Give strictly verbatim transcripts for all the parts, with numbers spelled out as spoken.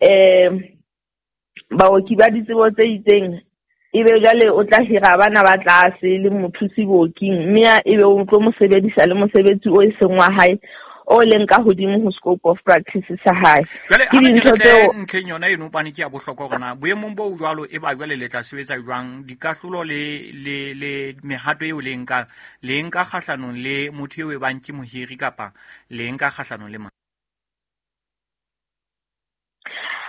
um baoki ba ditsebo tse itseng, ebe jwale o tla hira bana ba tlase le mothusi booking, mme ebe o tlo mo sebedisa le mosebetsi o e seng wa hae o leng ka hodimo ho scope of practice sa hae. Jwale ha ke tle ntlheng yona eno pane ke ya bohlokwa hore na boemong bo jwalo e ba jwale le tla sebetsa jwang, dikahlolo le le le mehato eo le nka le nka kgahlanong le motho eo e bang ke mohiri kapa le nka kgahlanong le mang?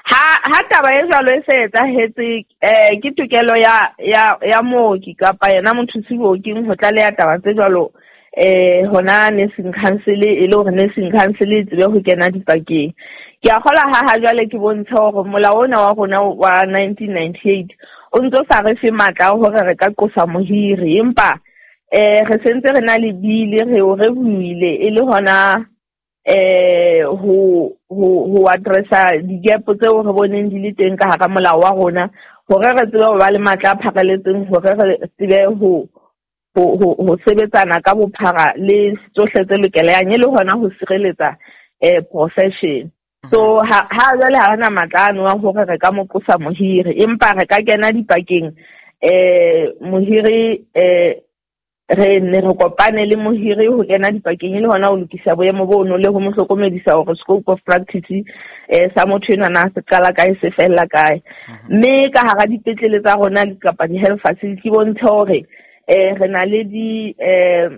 Ha ha taba e jwalo e se etsahetse, eh ke tokelo ya ya ya mooki kapa yena mothusi booking ho tlaleha taba tse jwalo eh hona nursing council, e le hore nursing council e tsebe ho kena dipakeng. Ke a kgola ha ha jwale ke bontshe hore molao ona wa rona wa nineteen ninety-eight o ntso sa re fe matla a hore re ka qosa mohiri, empa eh re sentse re na le bile re o re buile e le hona eh ho ho ho addressa di-gap tseo re boneng di le teng ka hara molao wa rona, hore re tsebe ho ba le matla a pharaletseng, hore re tsebe ho ho ho sebetsana ka bophara le tsohle tse lokelehang, e le hona ho sireletsa eh profession. So ha ha jwale ha rena matla ano a hore re ka mo qosa mohiri, empa re ka kena dipakeng eh mohiri eh re ne re kopane le mohiri ho kena dipakeng e le hona ho lokisa boemo bono le ho mo hlokomedisa hore scope of practice eh sa motho enwa na se qala kae se fella kae. Mme ka hara dipetlele tsa rona kapa di-health facility bontshe hore eh re na le di eh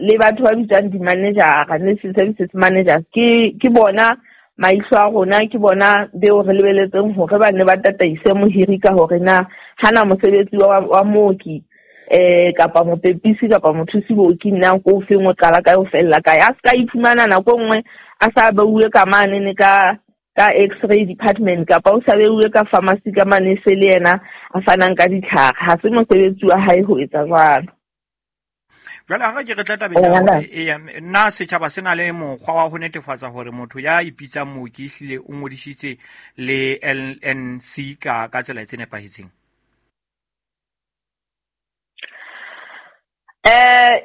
le batho ba bitswang di-manager, nursing services managers, ke ke bona maihlo a rona, ke bona beo re lebeletseng hore ba ne ba tataise mohiri ka hore na hana mosebetsi wa, wa mooki eh kapa mopepisi kapa mothusi booking na ko feng o qala kae o fella kae. A ska iphumana nako nngwe a sa beuwe ka mane ne ka ka x-ray department kapa o sa beuwe ka pharmacy ka mane se le yena a fanang ka ditlhare, ha se mosebetsi wa hae ho etsa jwalo. Jwale ha ke re tla tabeng ya hore eya nna setjhaba se na le mokgwa wa ho netefatsa hore motho ya ipitsang mooki ehlile o ngodisitse le L N C ka ka tsela tse nepahetseng? Eh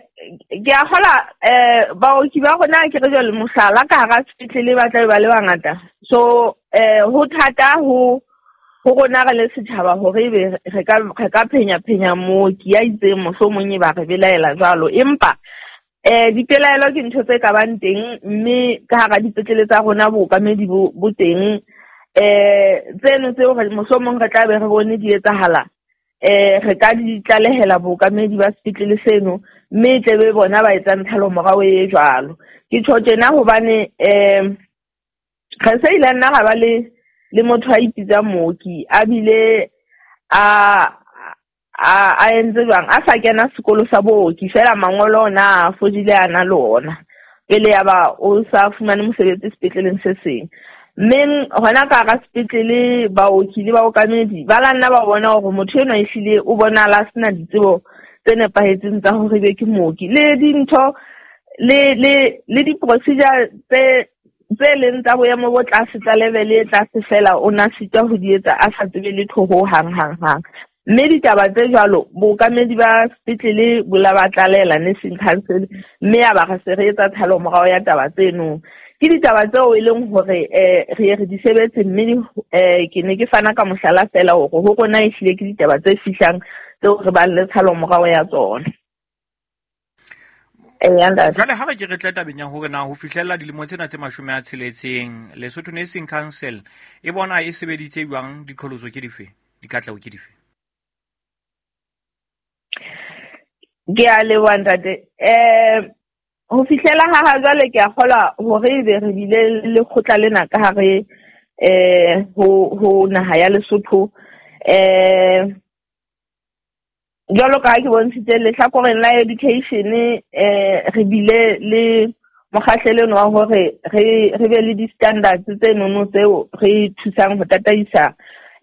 ke a kgola eh baoki ba rona ke re jwale mohlala ka hara sepetlele ba tla be ba le bangata, so eh ho thata ho ho rona re le setjhaba hore ebe re ka re ka phenya phenya mooki ya itseng mohlomong e ba re belaela jwalo, empa eh dipelaelo ke ntho tse ka bang teng, mme ka hara dipetlele tsa rona bookamedi bo bo teng eh tseno tseo re mohlomong re tla be re bone di etsahala eh re ka di tlalehela bookamedi ba sepetlele seno, mme e tle be bona ba etsang thalomorao e jwalo. Ke tjho tjena hobane eh re se ile nna ra ba le le motho a ipitsang mooki a bile a a a entse jwang a sa kena sekolo sa booki fela mangolo ona a fodile a na le ona pele ya ba o sa fumane mosebetsi sepetleleng se seng. Mme hona ka hara sepetlele baoki le baokamedi ba la nna ba bona hore motho enwa ehlile o bonahala a sena ditsebo tse nepahetseng tsa hore ebe ke mooki, le dintho le le le di-procedure tse tse leng tsa boemo bo tlase tsa level e tlase fela o na sitwa ho di etsa a sa tsebe letho ho hang hang hang. Mme ditaba tse jwalo bookamedi ba sepetlele bo la ba tlalela nursing council, mme ya ba re se re etsa thalomorao ya taba tseno. Ke ditaba tseo e leng hore eh re re di sebetse, mme eh ke ne ke fana ka mohlala fela hore ho rona ehlile ke ditaba tse fihlang tseo re bang le thalomorao ya tsona. Jwale ha re ke re tle tabeng ya hore na ho fihlella dilemo tsena tse mashome a tsheletseng Lesotho Nursing Council e bona e sebeditse jwang, diqholotso ke dife, dikatleho ke dife? Ke a leboha ntate. Eh ho fihlela ha ha jwale ke a kgolwa hore ebe re bile le lekgotla lena ka hare eh ho ho naha ya Lesotho. Eh jwalo ka ha ke bontshitse lehlakoreng la education eh re bile le mokgahlelo wa hore re re be le di-standards tse nono tseo re thusang ho tataisa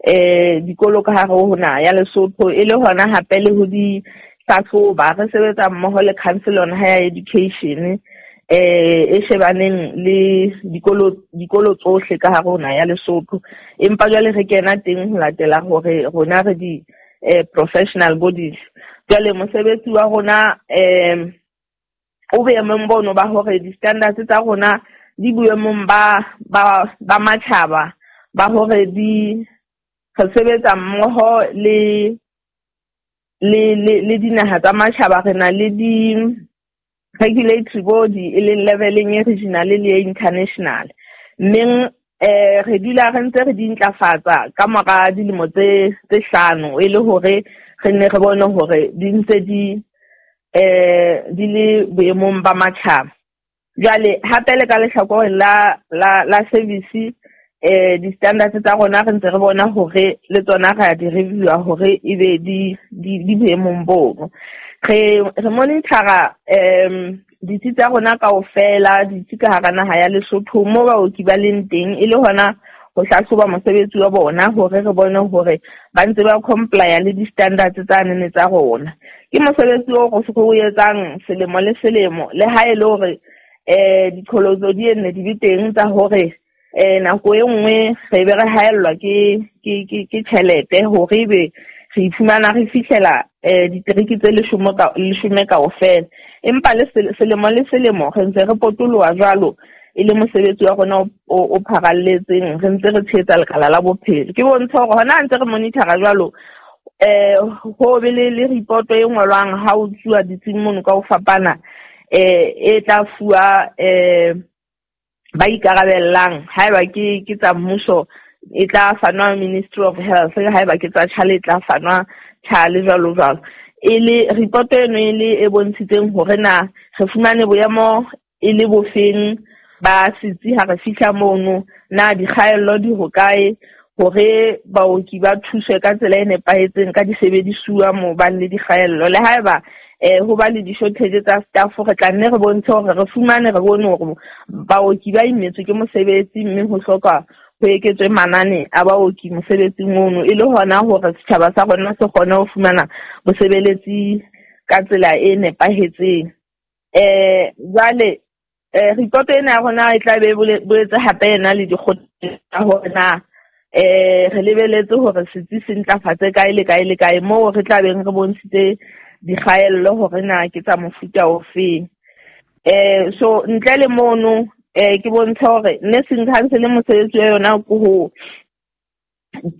eh dikolo ka hare ho naha ya Lesotho, e le hona hape le ho di hlahloba. Re sebetsa mmoho le Council on Higher Education eh e shebaneng le dikolo dikolo tsohle ka hare ho naha ya Lesotho, empa jwale re kena teng ho latela hore rona re di eh professional bodies. Jwale mosebetsi wa rona eh o boemong bono ba hore di-standards tsa rona di boemong ba ba ba matjhaba ba hore di re sebetsa mmoho le le le le dinaha tsa matjhaba. Re na le di regulatory body e leng leveleng e regional le e international, mme eh re dula re ntse re di ntlafatsa ka mora dilemo tse tse hlano, e le hore re nne re bone hore di ntse di eh di le boemong ba matjhaba. Jwale hape le ka lehlakoreng la la la service, eh di-standards tsa rona re ntse re bona hore le tsona re a di review-a hore ebe di di di boemong bono. Re re monitor-a um ditsi tsa rona kaofela, ditsi ka hara naha ya Lesotho mo baoki ba leng teng, e le hona ho hlahloba mosebetsi wa bona hore re bone hore ba ntse ba comply le di-standards tsa nene tsa rona. Ke mosebetsi o re o etsang selemo le selemo, le ha e le hore eh diqholotso di nne di be teng tsa hore eh nako e nngwe re be re haellwa ke ke ke ke tjhelete hore ebe re iphumana re fihlela eh diteriki tse leshome ka leshome kaofela. Empa le selemo le selemo re ntse re potoloha jwalo, e le mosebetsi wa rona o o pharalletseng, re ntse re tshehetsa lekala la bophelo. Ke bontsha hore hona ntse re monitor-a jwalo, eh ho be le le report e ngolwang ha o tsuwa ditsing mono ka ho fapana, eh e tla fuwa eh ba ikarabellang. Haeba ke ke tsa mmuso e tla fanwa Ministry of Health, haeba ke tsa tjhale e tla fanwa tjhale, jwalo jwalo. E le report eno e le e bontshitseng hore na re fumane boemo e le bofeng ba setsi ha re fihla mono, na dikgaello di hokae hore baoki ba thuswe ka tsela e nepahetseng ka disebedisuwa moo ba le dikgaello. Le haeba eh ho ba le di-shortage tsa staff, re tla nne re bontshe hore re fumane re bone hore baoki ba imetswe ke mosebetsi, mme ho hloka ho eketswe manane a baoki mosebetsing ono, e le hona hore setjhaba sa rona se kgone ho fumana bosebeletsi ka tsela e nepahetseng. Eh jwale eh report ena ya rona e tla be boetse hape ena le dikgothaletso tsa hore na eh re lebeletse hore setsi se ntlafatse kae le kae le kae, moo re tla beng re bontshitse dikgaello hore na ke tsa mofuta ofeng. Eh so ntle le mono eh ke bontsha hore nursing council mosebetsi wa yona ke ho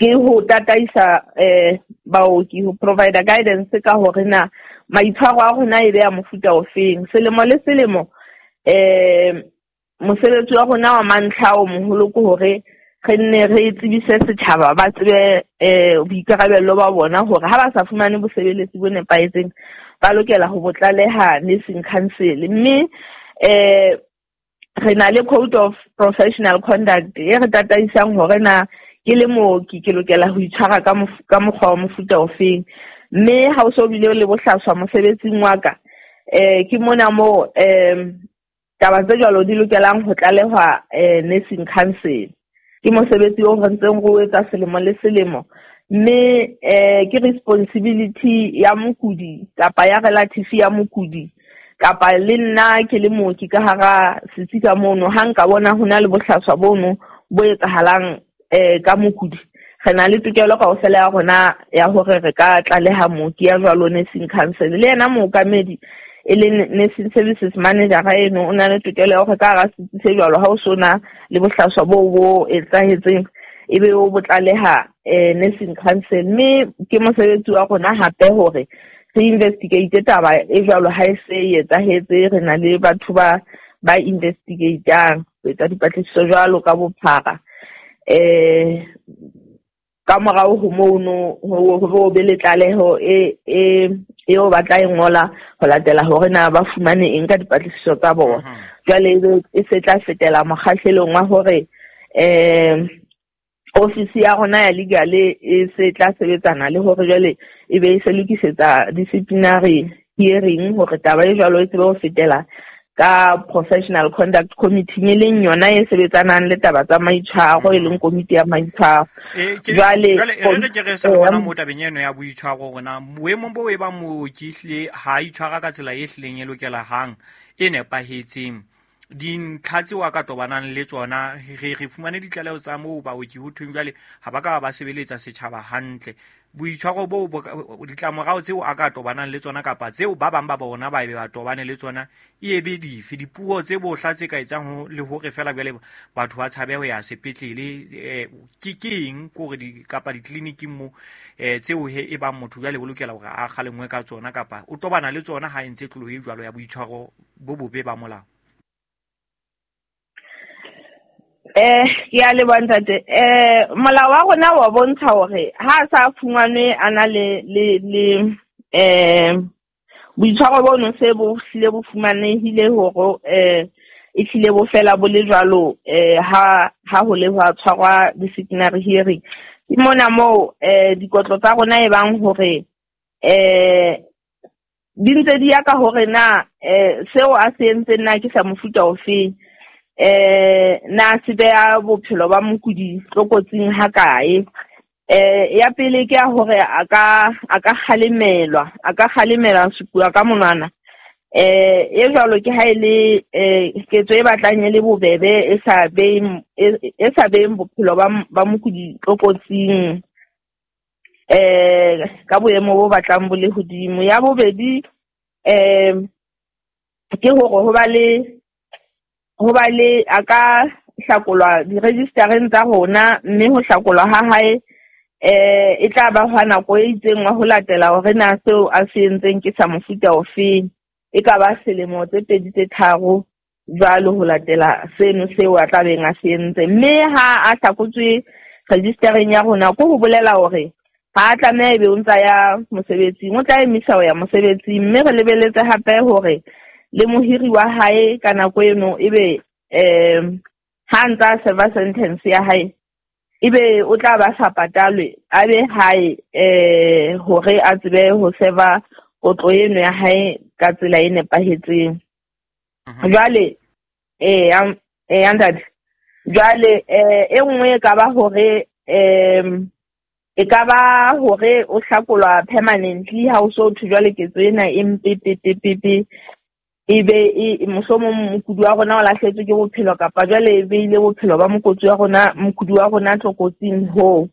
ke ho tataisa eh baoki, ho provide guidance ka hore na maitshwaro a rona e be ya mofuta ofeng. Selemo le selemo eh mosebetsi wa rona wa mantlha o moholo ke hore re nne re tsebise setjhaba ba tsebe eh boikarabello ba bona hore ha ba sa fumane bosebeletsi bo nepahetseng ba lokela ho bo tlaleha nursing council. Mme eh re na le code of professional conduct e re tataisang hore na ke le mooki ke lokela ho itshwara ka ka mokgwa wa mofuta ofeng. Mme ha o so bile le bohlaswa mosebetsing wa ka, eh ke mona mo eh taba tse jwalo di lokelang ho tlalehwa eh nursing council. Ke mosebetsi o re ntseng re o etsa selemo le selemo, mme eh ke responsibility ya mokudi kapa ya relative ya mokudi kapa le nna ke le mooki ka hara setsi ka mono, ha nka bona ho na le bohlaswa bono bo etsahalang eh ka mokudi, re na le tokelo kaofela ya rona ya hore re ka tlaleha mooki ya jwalo nursing council. Le yena mookamedi e leng nursing services manager eno o na le tokelo ya hore ka hara setsi se jwalo ha o sona le bohlaswa bo bo etsahetseng ebe o bo tlaleha eh nursing council. Mme ke mosebetsi wa rona hape hore re investigate taba e jwalo ha e se e etsahetse. Re na le batho ba ba investigatang ho etsa dipatlisiso jwalo ka bophara. Eh ka morao ho mono ho be le tlaleho e e eo ba tla e ngola ho latela hore na ba fumane eng ka dipatlisiso tsa bona. Jwale e se tla fetela mokgahlelong wa hore eh ofisi ya rona ya legal e se tla sebetsana le hore jwale e be e se lokisetsa disciplinary hearing hore taba e jwalo e tsebe ho fetela ka professional conduct committee, e leng yona e sebetsanang le taba tsa maitshwaro, e leng komiti ya maitshwaro. Jwale re ke re sa bona mo tabeng eno ya boitshwaro rona boemong bo e ba mooki hle ha itshwara ka tsela e hlileng e lokela hang e nepahetseng, Dintlha tseo a ka tobanang le tsona, re re fumane ditlaleho tsa moo baoki ho thweng jwale ha ba ka ba sebeletsa setjhaba hantle. Boitshwaro boo, ditlamorao tseo a ka tobanang le tsona kapa tseo ba bang ba bona ba be ba tobane le tsona e be dife? Dipuo tse bohla tse ka etsang le hore fela jwale batho ba tshabe ho ya sepetlele, ke keng kore di kapa ditleliniking moo tseo he e bang motho jwale o lokela hore a kgalengwe ka tsona kapa o tobana le tsona ha e ntse tlolo e jwalo ya boitshwaro bo bobe ba molao? Eh ke a leboha ntate. Eh molao wa rona wa bontsha hore ha sa fumanwe a na le le le eh boitshwaro bono se bo hlile bo fumanehile hore eh e hlile bo fela bo le jwalo eh ha ha ho le hwa tshwarwa disciplinary hearing. Ke mona moo eh dikotlo tsa rona e bang hore eh di ntse di ya ka hore na eh seo a se entseng na ke sa mofuta ofe, eh na se beha bophelo ba mokudi tlokotsing ha kae. Eh ya pele ke ya hore a ka a ka kgalemelwa, a ka kgalemela supuwa ka monwana. Eh e jwalo ke ha ile eh ketso e batlang e le bobebe e sa being e sa being bophelo ba ba mokudi tlokotsing eh ka boemo bo batlang bo le hodimo. Ya bobedi eh ke hore ho ba le ho ba le a ka hlakolwa di-registereng tsa rona, mme ho hlakolwa ha hae eh e tla ba hwa nako e itseng wa ho latela hore na seo a se entseng ke sa mofuta ofeng, e ka ba selemo tse pedi tse tharo jwalo ho latela seno seo a tla beng a se entse. Mme ha a hlakotswe registereng ya rona, ko ho bolela hore ha a tlameha ebe o ntsa ya mosebetsing, o tla emisa ho ya mosebetsing. Mme re lebeletse hape hore le mohiri wa hae ka nako eno ebe eh ha ntsa serve sentence ya hae ebe o tla ba sa patalwe, a be hae eh hore a tsebe ho serve kotlo eno ya hae ka tsela e nepahetseng. Jwale eh eh ntate, jwale eh e nngwe e ka ba hore eh e ka ba hore o hlakolwa permanently ha o so thwe jwale ketso ena e mpe pe pe pe pe ebe e mohlomong mokudi wa rona o lahletswe ke bophelo kapa jwale e beile bophelo ba mokotsi wa rona mokudi wa rona tlokotsing ho.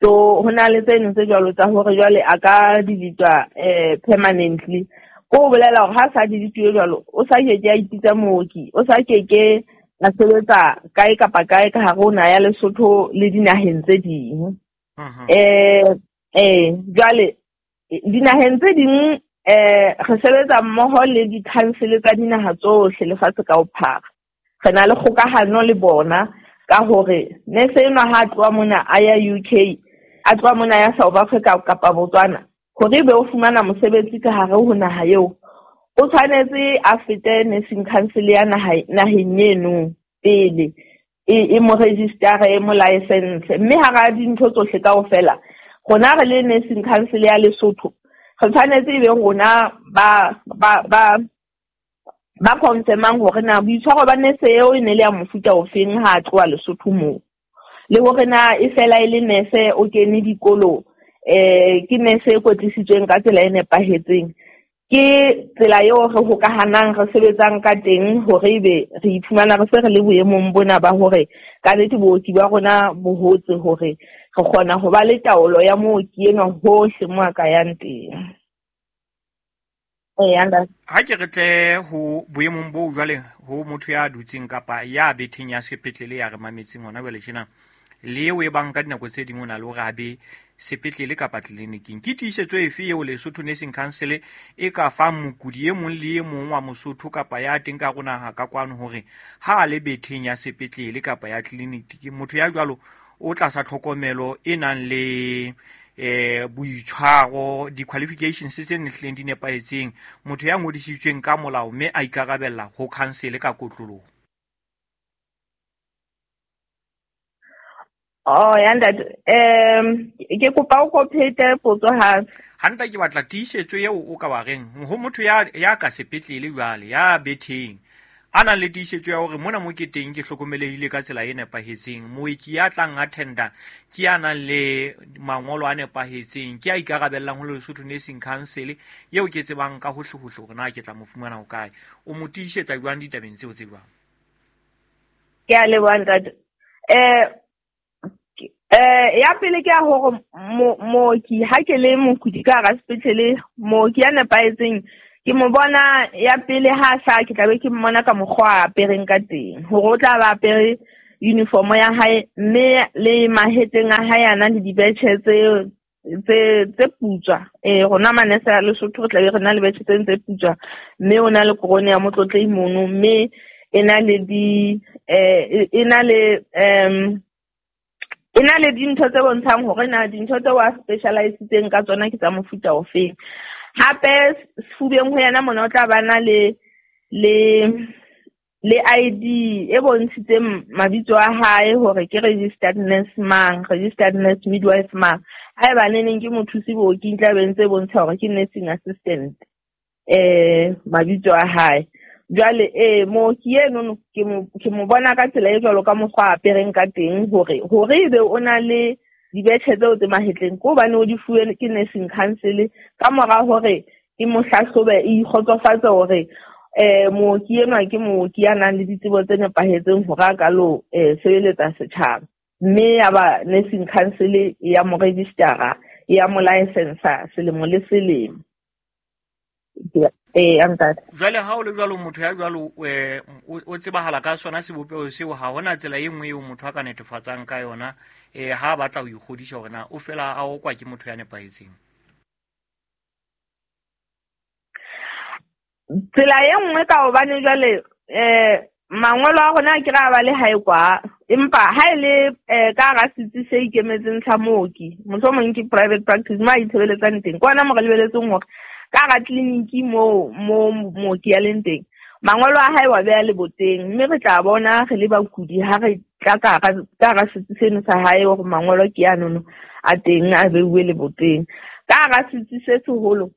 So ho na le tseno tse jwalo tsa hore jwale a ka delete eh permanently. Ko bolela hore ha sa delete jwalo o sa keke a ipitsa mooki, o sa keke a sebetsa kae kapa kae ka hare ho naha ya Lesotho le dinaheng tse ding. Eh eh jwale dinaheng tse ding eh re sebetsa mmoho le di-council tsa dinaha tsohle lefatshe ka bophara. Re na le kgokahano le bona ka hore nese enwa ha tloha mona a ya U K, a tloha mona ya South Africa kapa Botswana, hore ebe o fumana mosebetsi ka hare ho naha eo, o tshwanetse a fete nursing council ya naha naheng eno pele e e mo register e mo license. Mme hara dintho tsohle kaofela rona re le nursing council ya Lesotho re tshwanetse ebe rona ba ba ba ba confirmang hore na boitshwaro ba nese eo e ne le ya mofuta ofeng ha a tloha Lesotho moo, le hore na e fela e le nese o kene dikolo eh ke nese e kwetlisitsweng ka tsela e nepahetseng. Ke tsela eo re hokahanang re sebetsang ka teng hore ebe re iphumana re se re le boemong bona ba hore ka nnete booki ba rona bo hotse hore re kgona ho ba le taolo ya mooki enwa hohle mo a ka yang teng. Ha ke re tle ho boemong bo jwale ho motho ya dutseng kapa ya betheng ya sepetlele ya re mametseng hona jwale tjena, le eo e bang ka dinako tse ding o na le hore a be sepetlele kapa tleliniking, ke tiisetso efe eo Lesotho Nursing Council e ka fang mokudi e mong le e mong wa Mosotho kapa ya teng ka rona ha ka kwano hore ha a le betheng ya sepetlele kapa ya tleliniki, motho ya jwalo o tlasa tlhokomelo e nang le eh boitshwaro, di-qualifications tse nehleng di nepahetseng, motho ya ngodisitsweng ka molao mme a ikarabella ho council ka kotloloho? Oh ya ntate, um ke kopa o kophete potso hape. Hantle ke batla tiisetso eo o ka ba reng ho motho ya ya ka sepetlele jwale ya betheng a nang le tiisetso ya hore mona mo ke teng ke hlokomelehile ka tsela e nepahetseng, mooki ya tlang attenda ke ya nang le mangolo a nepahetseng, ke a ikarabellang ho Lesotho Nursing Council eo ke tsebang ka hohle hohle hore na ke tla mo fumana ho kae, o mo tiisetsa jwang ditabeng tseo tse jwang? Ke a leboha ntate. Eh eh ya pele ke ya hore mooki ha ke le mokudi ka hara sepetlele, mooki ya nepahetseng ke mo bona ya pele ha sa ke tla be ke mmona ka mokgwa a apereng ka teng, hore o tla ba apere uniform ya hae mme le mahetleng a hae a na le dibetjhe tse tse tse putswa. Eh rona manese a Lesotho re tla be re na le betjhe tse tse putswa, mme o na le korone ya motlotlehi mono, mme e na le di eh e na le um e na le dintho tse bontshang hore na dintho tse wa specializitseng ka tsona ke tsa mofuta ofeng. Hape sefubeng ho yena mona o tla ba na le le le I D e bontshitseng mabitso a hae hore ke registered nurse mang, registered nurse midwife mang. Haeba neneng ke mothusi booking tla be ntse bontsha hore ke nursing assistant eh mabitso a hae. Jwale eh mooki eno ke mo ke mo bona ka tsela e jwalo ka mokgwa a apereng ka teng, hore hore ebe o na le dibetjhe tseo tse mahetleng ke hobane o di fuwe ke nursing council ka mora hore e mo hlahlobe e ikgotsofatse hore eh mooki enwa ke mooki ya nang le ditsebo tse nepahetseng hore a ka lo eh sebeletsa setjhaba, mme ya ba nursing council ya mo registera ya mo license selemo le selemo. Eh ntate. Jwale ha o le jwalo motho ya jwalo eh o tsebahala ka sona sebopeho seo, ha hona tsela e nngwe eo motho a ka netefatsang ka yona eh ha batla ho ikgodisa hore na o fela a okwa ke motho ya nepahetseng. Tsela e nngwe ka hobane jwale eh mangolo a rona ke ra ba le hae kwa, empa ha e le ka hara setsi se ikemetseng sa mooki, mohlomong ke private practice mo a itshebeletsang teng, ke hona mo re lebeletseng hore ka hara tleliniki mo mo mooki ya leng teng mangolo a hae wa beha leboteng, mme re tla bona re le bakudi ha re tla ka hara setsi seno sa hae hore mangolo ke anono a teng a beuwe leboteng. Ka hara setsi se seholo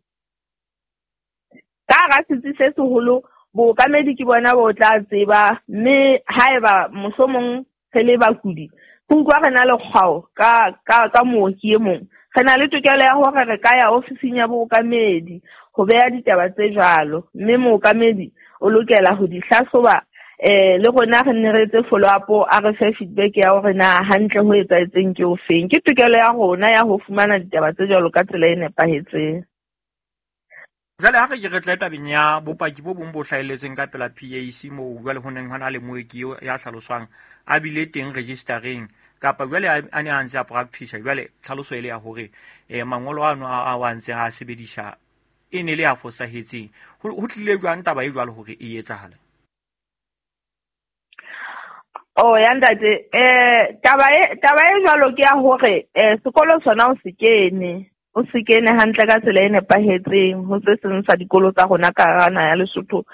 ka hara setsi se seholo bookamedi ke bona bo tla tseba, mme haeba mohlomong re le bakudi re utlwa re na le kgwao ka ka ka mooki e mong, re na le tokelo ya hore re ka ya ofising ya bookamedi ho beha ditaba tse jwalo, mme mookamedi o lokela ho di hlahloba eh le rona re nne re etse follow up a re fe feedback ya hore na hantle ho etsahetseng ke ofeng. Ke tokelo ya rona ya ho fumana ditaba tse jwalo ka tsela e nepahetseng. Jwale ha re ke re tle tabeng ya bopaki bo bong bo hlahelletseng ka pela P A C moo jwale ho neng hona le mooki ya hlaloswang a bile teng registereng kapa jwale a ne a ntse a practice, jwale tlhaloso e le ya hore eh mangolo ano a a ntse a sebedisa e ne le a fosahetseng. Ho tlile jwang taba e jwalo hore e etsahale? Oh ya ntate, eh taba e taba e jwalo ke ya hore eh sekolo sona o se kene o se kene hantle ka tsela e nepahetseng ho se seng sa dikolo tsa rona ka hara naha ya Lesotho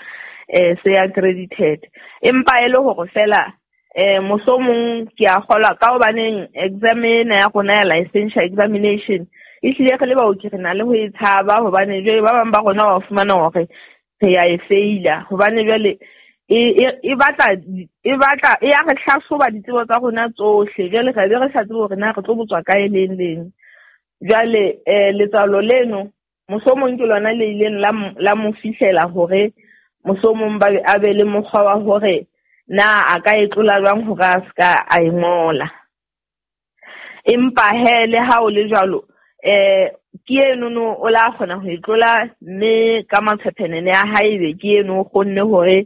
eh se accredited, empa e le hore fela eh mohlomong ke a kgolwa ka hobaneng exam ena ya rona ya licensure examination e hlile re le baoki re na le ho e tshaba, hobane jwale ba bang ba rona wa fumana hore re ya e feila, hobane jwale e e batla e batla e ya re hlahloba ditsebo tsa rona tsohle, jwale re be re sa tsebe hore na re tlo botswa kae leng leng. Jwale eh letswalo leno mohlomong ke lona le ileng la la mo fihlela hore mohlomong ba a be le mokgwa wa hore na a ka e tlola jwang hore a ska a e ngola. Empa he le ha o le jwalo eh ke eno no o la kgona ho e tlola, mme ka matshephenene a hae be ke eno o kgonne hore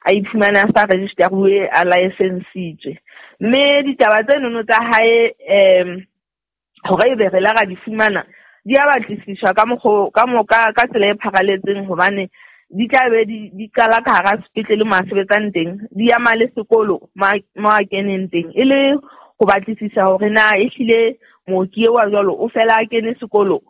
a iphumane a sa registeruwe a licensitswe. Mme ditaba tseno no tsa hae em hore ebe re la ra di fumana di a batlisiswa ka mokgo ka moka ka tsela e pharaletseng, hobane di tla be di di qala ka hara sepetlele mo a sebetsang teng, di ama le sekolo mo a keneng teng, e le ho batlisisa hore na ehlile mooki eo wa jwalo o fela a kene sekolo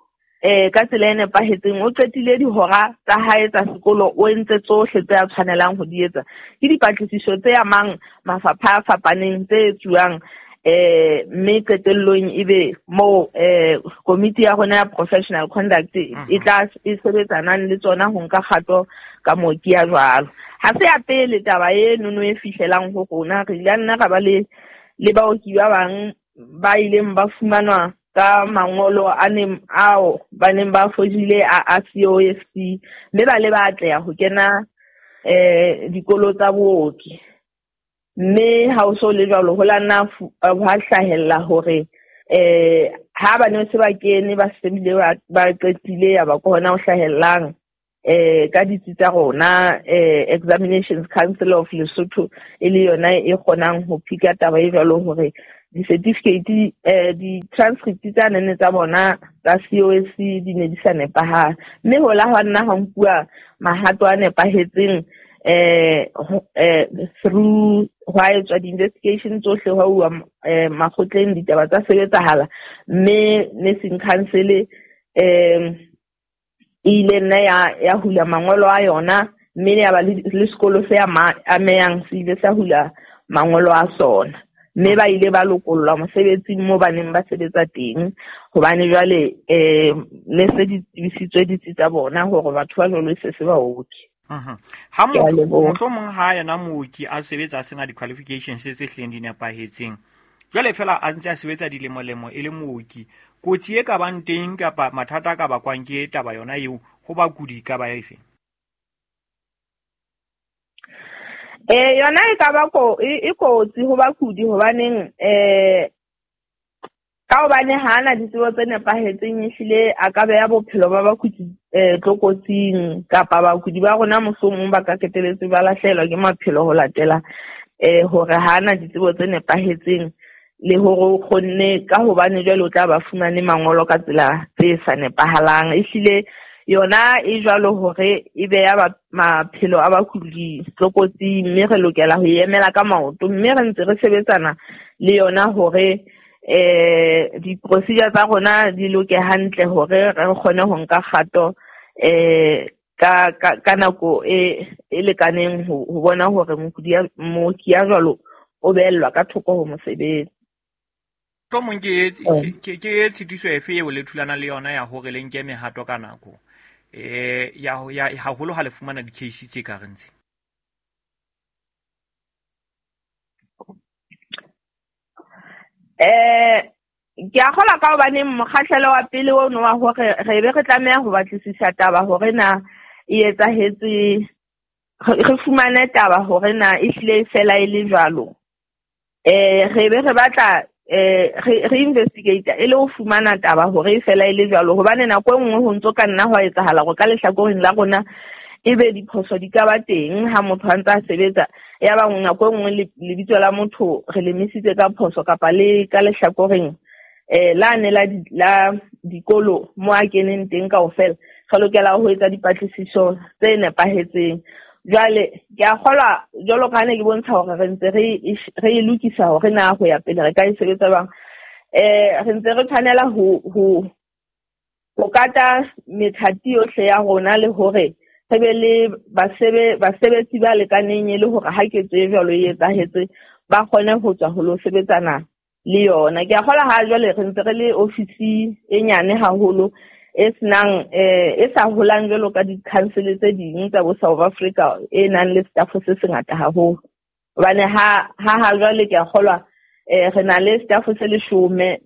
eh ka tsela e nepahetseng, o qetile dihora tsa hae tsa sekolo, o entse tsohle tse a tshwanelang ho di etsa. Ke dipatlisiso tse amang mafapha a fapaneng tse etsuwang eh mme qetellong ebe mo eh komiti ya rona ya professional conduct e tla e sebetsanang le tsona ho nka kgato ka mooki ya jwalo. Ha se ya pele taba e nono e fihlelang ho rona, re ile nna ra ba le le baoki ba bang ba ileng ba fumanwa ka mangolo a neng ao ba neng ba fojile a a C O F C, mme ba le ba atleha ho kena eh dikolo tsa booki. Mme ha o so le jwalo ho la nna ha hlahella hore eh ha ba ne se ba kene ba sebile ba qetile ya ba ke hona ho hlahellang eh ka ditsi tsa rona eh Examinations Council of Lesotho e le yona e kgonang ho phika taba e jwalo hore di-certificate eh di-transcript tsa nene tsa bona tsa C O S C di ne di sa nepahala. Mme ho la hwa nna ha nkuwa mahato a nepahetseng eh eh through hwa etswa di-investigation tsohle hwa uwa eh makgotleng ditaba tsa sebetsahala. Mme Nursing Council eh ile nna ya ya hula mangolo a yona, mme ya ba le sekolo se amehang se ile sa hula mangolo a sona. Mme ba ile ba lokollwa mosebetsing moo ba neng ba sebetsa teng, hobane jwale eh ne se di tsebisitswe ditsi tsa bona hore batho ba jwalo se se baoki. Mhm. Ha motho mohlomong ha yena mooki a sebetsa a sena di-qualifications tse hlileng di nepahetseng, jwale fela a ntse a sebetsa dilemo-lemo e le mooki, kotsi e ka bang teng kapa mathata a ka bakwang ke taba yona eo ho bakudi ka ba efe? Eh yona e ka ba ko e kotsi ho bakudi hobaneng eh ka hobane ha ana ditsebo tse nepahetseng ehlile a ka beha bophelo ba bakudi eh tlokotsing, kapa bakudi ba rona mohlomong ba ka qetelletse ba lahlehelwa ke maphelo ho latela eh hore ha ana ditsebo tse nepahetseng le hore o kgonne ka hobane jwale o tla ba fumane mangolo ka tsela tse sa nepahalang. Ehlile yona e jwalo hore e beha maphelo a bakudi tlokotsing, mme re lokela ho emela ka maoto, mme re ntse re sebetsana le yona hore eh di-procedure tsa rona di loke hantle hore re kgone ho nka kgato eh ka ka nako e e lekaneng ho bona hore mokudi mooki ya jwalo o behellwa ka thoko ho mosebetsi. Mohlomong ke ke ke tshitiso efe eo le thulana le yona ya hore le nke mehato ka nako eh ya ya haholo ha le fumana di-case tse ka reng tse? Eh ke a kgolwa ka hobane mokgahlelo wa pele ono wa hore re be re tlameha ho batlisisa taba hore na e etsahetse, re fumane taba hore na ehlile fela e le jwalo. Eh re be re batla eh re re investigate e le ho fumana taba hore e fela e le jwalo, hobane nako e nngwe ho ntso ka nna hwa etsahala hore ka lehlakoreng la rona ebe diphoso di ka ba teng ha motho a ntse a sebetsa, ya ba nako e nngwe lebitso la motho re le misitse ka phoso kapa le ka lehlakoreng eh la ne la la dikolo mo a keneng teng kaofela. Re lokela ho etsa dipatlisiso tse nepahetseng. Jwale ke a kgolwa jwalo ka ha ne ke bontsha hore re ntse re re e lokisa hore na ho ya pele re ka e sebetsa jwang. Eh re ntse re tshwanela ho ho ho kata methati yohle ya rona le hore re be le basebe basebetsi ba lekaneng e le hore ha ketso e jwalo e etsahetse ba kgone ho tswa ho lo sebetsana le yona. Ke a kgolwa ha jwale re ntse re le ofisi e nyane haholo e senang eh e sa holang jwalo ka di-council tse ding tsa bo South Africa e nang le staff se sengata haholo. Hobane ha ha ha jwale ke a kgolwa eh re na le staff se leshome,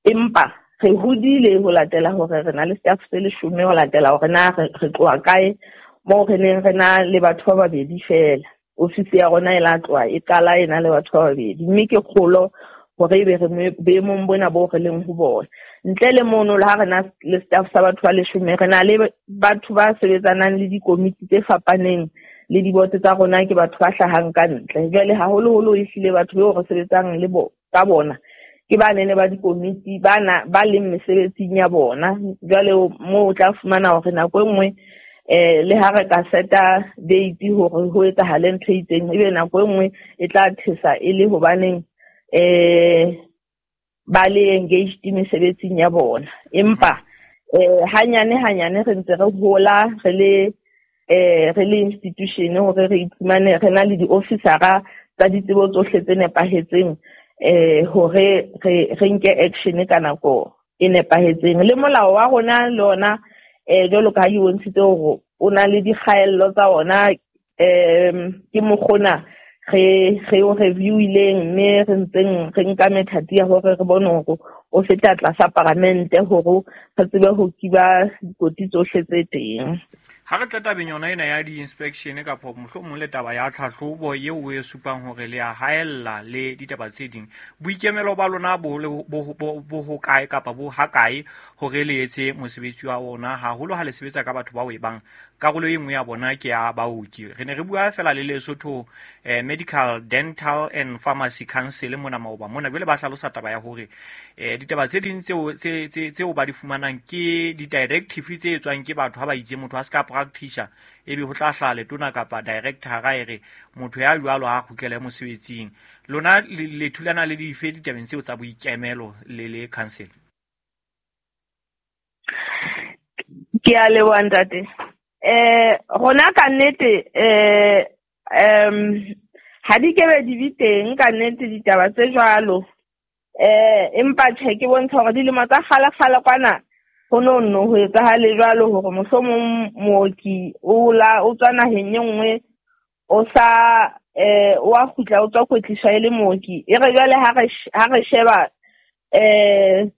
empa re hodile ho latela hore re na le staff se leshome ho latela hore na re tloha kae moo re neng re na le batho ba babedi fela. Ofisi ya rona e la tloha e qala e na le batho ba babedi, mme ke kgolo hore ebe re boemong bona bo re leng ho bona. Ntle le mono le ha re na le staff sa batho ba leshome, re na le batho ba sebetsanang le dikomiti tse fapaneng le diboto tsa rona ke batho ba hlahang ka ntle. Jwale haholoholo ehlile batho beo re sebetsang le bo ka bona ke ba nene ba dikomiti ba na ba leng mesebetsing ya bona. Jwale moo o tla fumana hore nako e nngwe eh le ha re ka seta date hore ho etsahale ntho e itseng, ebe nako e nngwe e tla thesa e le hobaneng eh ba le engaged mesebetsing ya bona. Empa eh hanyane hanyane re ntse re hola re le eh re le institution hore re iphumane re na le di-officera tsa ditsebo tsohle tse nepahetseng eh hore re re nke action ka nako e nepahetseng. Le molao wa rona le ona eh jwalo ka ha ke bontshitse hore o na le dikgaello tsa ona, eh ke mokgona re re o review-ileng mme re ntseng re nka methati ya hore re bone hore o feta tlasa paramente hore re tsebe ho kiba dikoti tsohle tse teng. Ha re tla tabeng yona ena ya di-inspection kapa mohlomong le taba ya tlhahlobo eo o e supang hore le a haella le ditaba tse ding, boikemelo ba lona bo bo hokae kapa bo hakae hore le etse mosebetsi wa ona, haholo ha le sebetsa ka batho bao e bang karolo e nngwe ya bona ke ya baoki? Re ne re bua fela le Lesotho eh, Medical, Dental and Pharmacy Council mona maoba mona, jwale ba hlalosa taba ya hore eh, ditaba tse ding tseo tseo ba di fumanang ke di-directive tse etswang ke batho ha ba itse motho a se ka practitioner, ebe ho tla hlaha letona kapa director ga e re motho ya jwalo ha kgutlele mosebetsing. Lona le thulana le dife ditabeng tseo tsa boikemelo le le council? Ke a leboha ntate. Eh rona ka nnete eh um ha di kebe di be teng ka nnete ditaba tse jwalo, eh empa tjhe ke bontsha hore dilemo tsa kgale-kgale kwana ho no nno ho etsahale jwalo hore mohlomong mooki o la o tswa naheng e nngwe o sa eh o a kgutla o tswa kwetliswa e le mooki. E re jwale ha re ha re sheba eh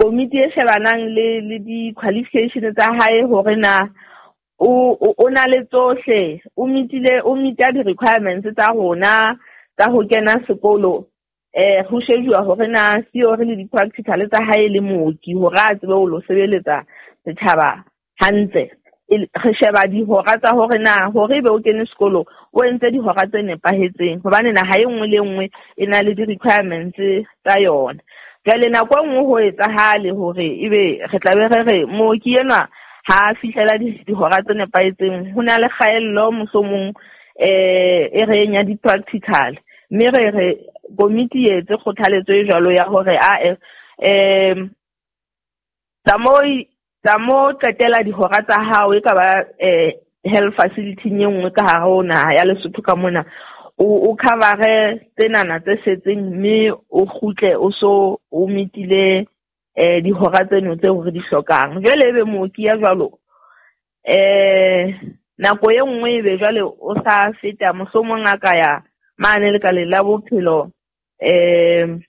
komiti e shebanang le le di-qualification tsa hae hore na o o na le tsohle, o mitile o mita di-requirements tsa rona tsa ho kena sekolo, eh ho shejuwa hore na theory le di-practical tsa hae le mooki hore a tsebe ho lo sebeletsa setjhaba hantle. Re sheba dihora tsa hore na hore ebe o kene sekolo o entse dihora tse nepahetseng, hobane naha e nngwe le nngwe e na le di-requirements tsa yona. Jwale nako e nngwe ho etsahale hore ebe re tla be re re mooki enwa ha fihlela dihora tse nepahetseng, ho na le kgaello mohlomong eh e reng ya di-practical, mme re re komiti e etse kgothaletso e jwalo ya hore a eh tsa mo tsa mo qetela dihora tsa hao e ka ba eh health facility e nngwe ka hare ho naha ya Lesotho ka mona, o o covere tsenana tse setseng mme o kgutle o so o mitile eh dihora tseno tseo re di hlokang. Jwale ebe mooki ya jwalo eh nako e nngwe ebe jwale o sa feta mohlomong a ka ya mane lekaleng la bophelo eh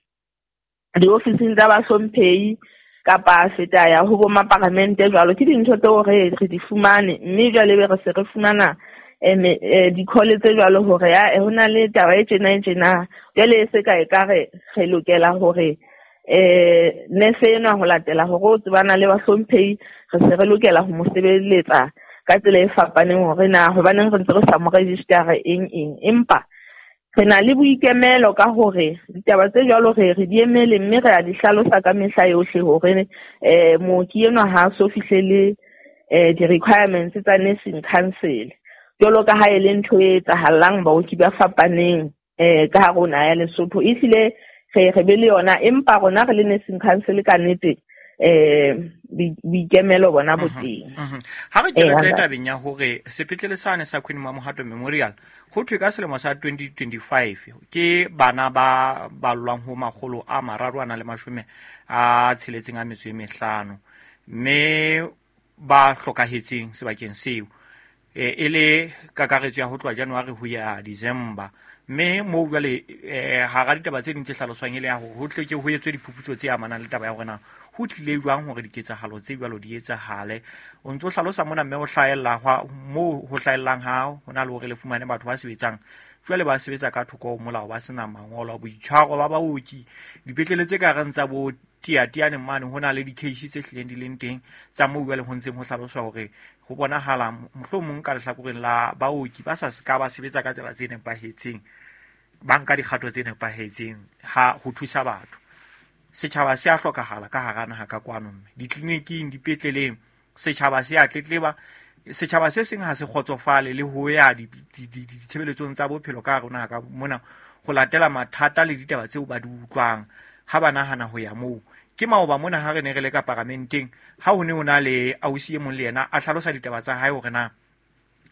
diofising tsa bahlomphehi kapa feta ya ho bo maparamente jwalo. Ke dintho tseo re re di fumane, mme jwale ebe re se re fumana eh di-call tse jwalo hore ya ho na le taba e tjena e tjena. Jwale e se ka e ka re re lokela hore eh nese enwa ho latela hore o tsebana le bahlomphehi, re se re lokela ho mo sebeletsa ka tsela e fapaneng hore na hobaneng re ntse re sa mo register eng eng. Empa re na le boikemelo ka hore ditaba tse jwalo re re di emele mme re a di hlalosa ka mehla yohle hore eh mooki enwa ha so fihlele eh di-requirements tsa nursing council, jwalo ka ha e le ntho e etsahalang baoki ba fapaneng eh ka hare ho naha ya Lesotho. Ehlile re re be le yona, empa rona re le nursing council ka nnete eh boikemelo bona bo teng. Ha re ke re tle tabeng ya hore sepetlele sane sa Queen Mamohato Memorial ho thwe ka selemo sa twenty twenty-five ke bana ba ballwang ho makgolo a mararo a na le mashome a tsheletseng a metso e mehlano mme ba hlokahetseng sebakeng seo e le kakaretso ya ho tloha January ho ya December. Mme moo jwale hara ditaba tse ding tse hlaloswang e le ya hore ho tle ke ho etswe diphuputso tse amanang le taba ya hore na ho tlile jwang hore diketsahalo tse jwalo di etsahale. O ntso hlalosa mona mme ho hlahella moo ho hlahellang ha ho na le hore le fumane batho ba sebetsang jwale ba sebetsa ka thoko ho molao, ba sena mangolo, boitshwaro ba baoki dipetlele tse ka reng tsa bo tiatiane mane ho na le di-case tse hlileng di leng teng tsa moo jwale ho ntseng ho hlaloswa hore ho bonahala mohlomong ka lehlakoreng la baoki ba sa ska ba sebetsa ka tsela tse nepahetseng, ba nka dikgato tse nepahetseng ha ho thusa batho. Setjhaba se a hlokahala ka hara naha ka kwano, mme ditleliniking, dipetleleng, setjhaba se a tletleba. Setjhaba se seng ha se kgotsofale le ho ya ditshebeletsong tsa bophelo ka hare ho naha ka mona ho latela mathata le ditaba tseo ba di utlwang ha ba nahana ho ya moo. Ke maoba mona ha re ne re le ka paramenteng ha ho ne ho na le ausi e mong le yena a hlalosa ditaba tsa hae hore na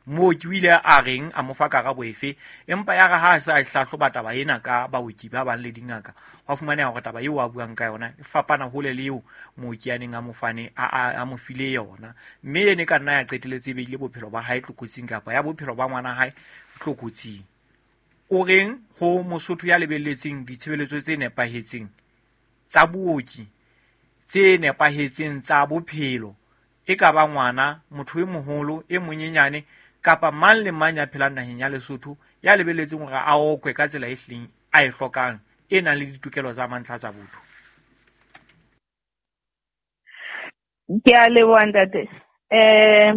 mooki o ile a reng, a mo fa karabo efe, empa ya re ha a sa hlahloba taba ena ka baoki ba bang le dingaka, hwa fumaneha hore taba eo a buang ka yona e fapana hole le eo mooki a neng a mo fane a a mo file yona, mme ene ka nna ya qeteletse e beile bophelo ba hae tlokotsing kapa ya bophelo ba ngwana hae tlokotsing. O reng ho Mosotho ya lebelletseng ditshebeletso tse nepahetseng tsa booki, tse nepahetseng tsa bophelo E ka ba ngwana, motho e moholo, e monyenyane kapa mang le mang ya phelang naheng ya Lesotho ya lebelletseng hore a okwe ka tsela e hlileng a e hlokang, e nang le ditokelo tsa mantlha tsa botho. Ke a leboha ntate. Eh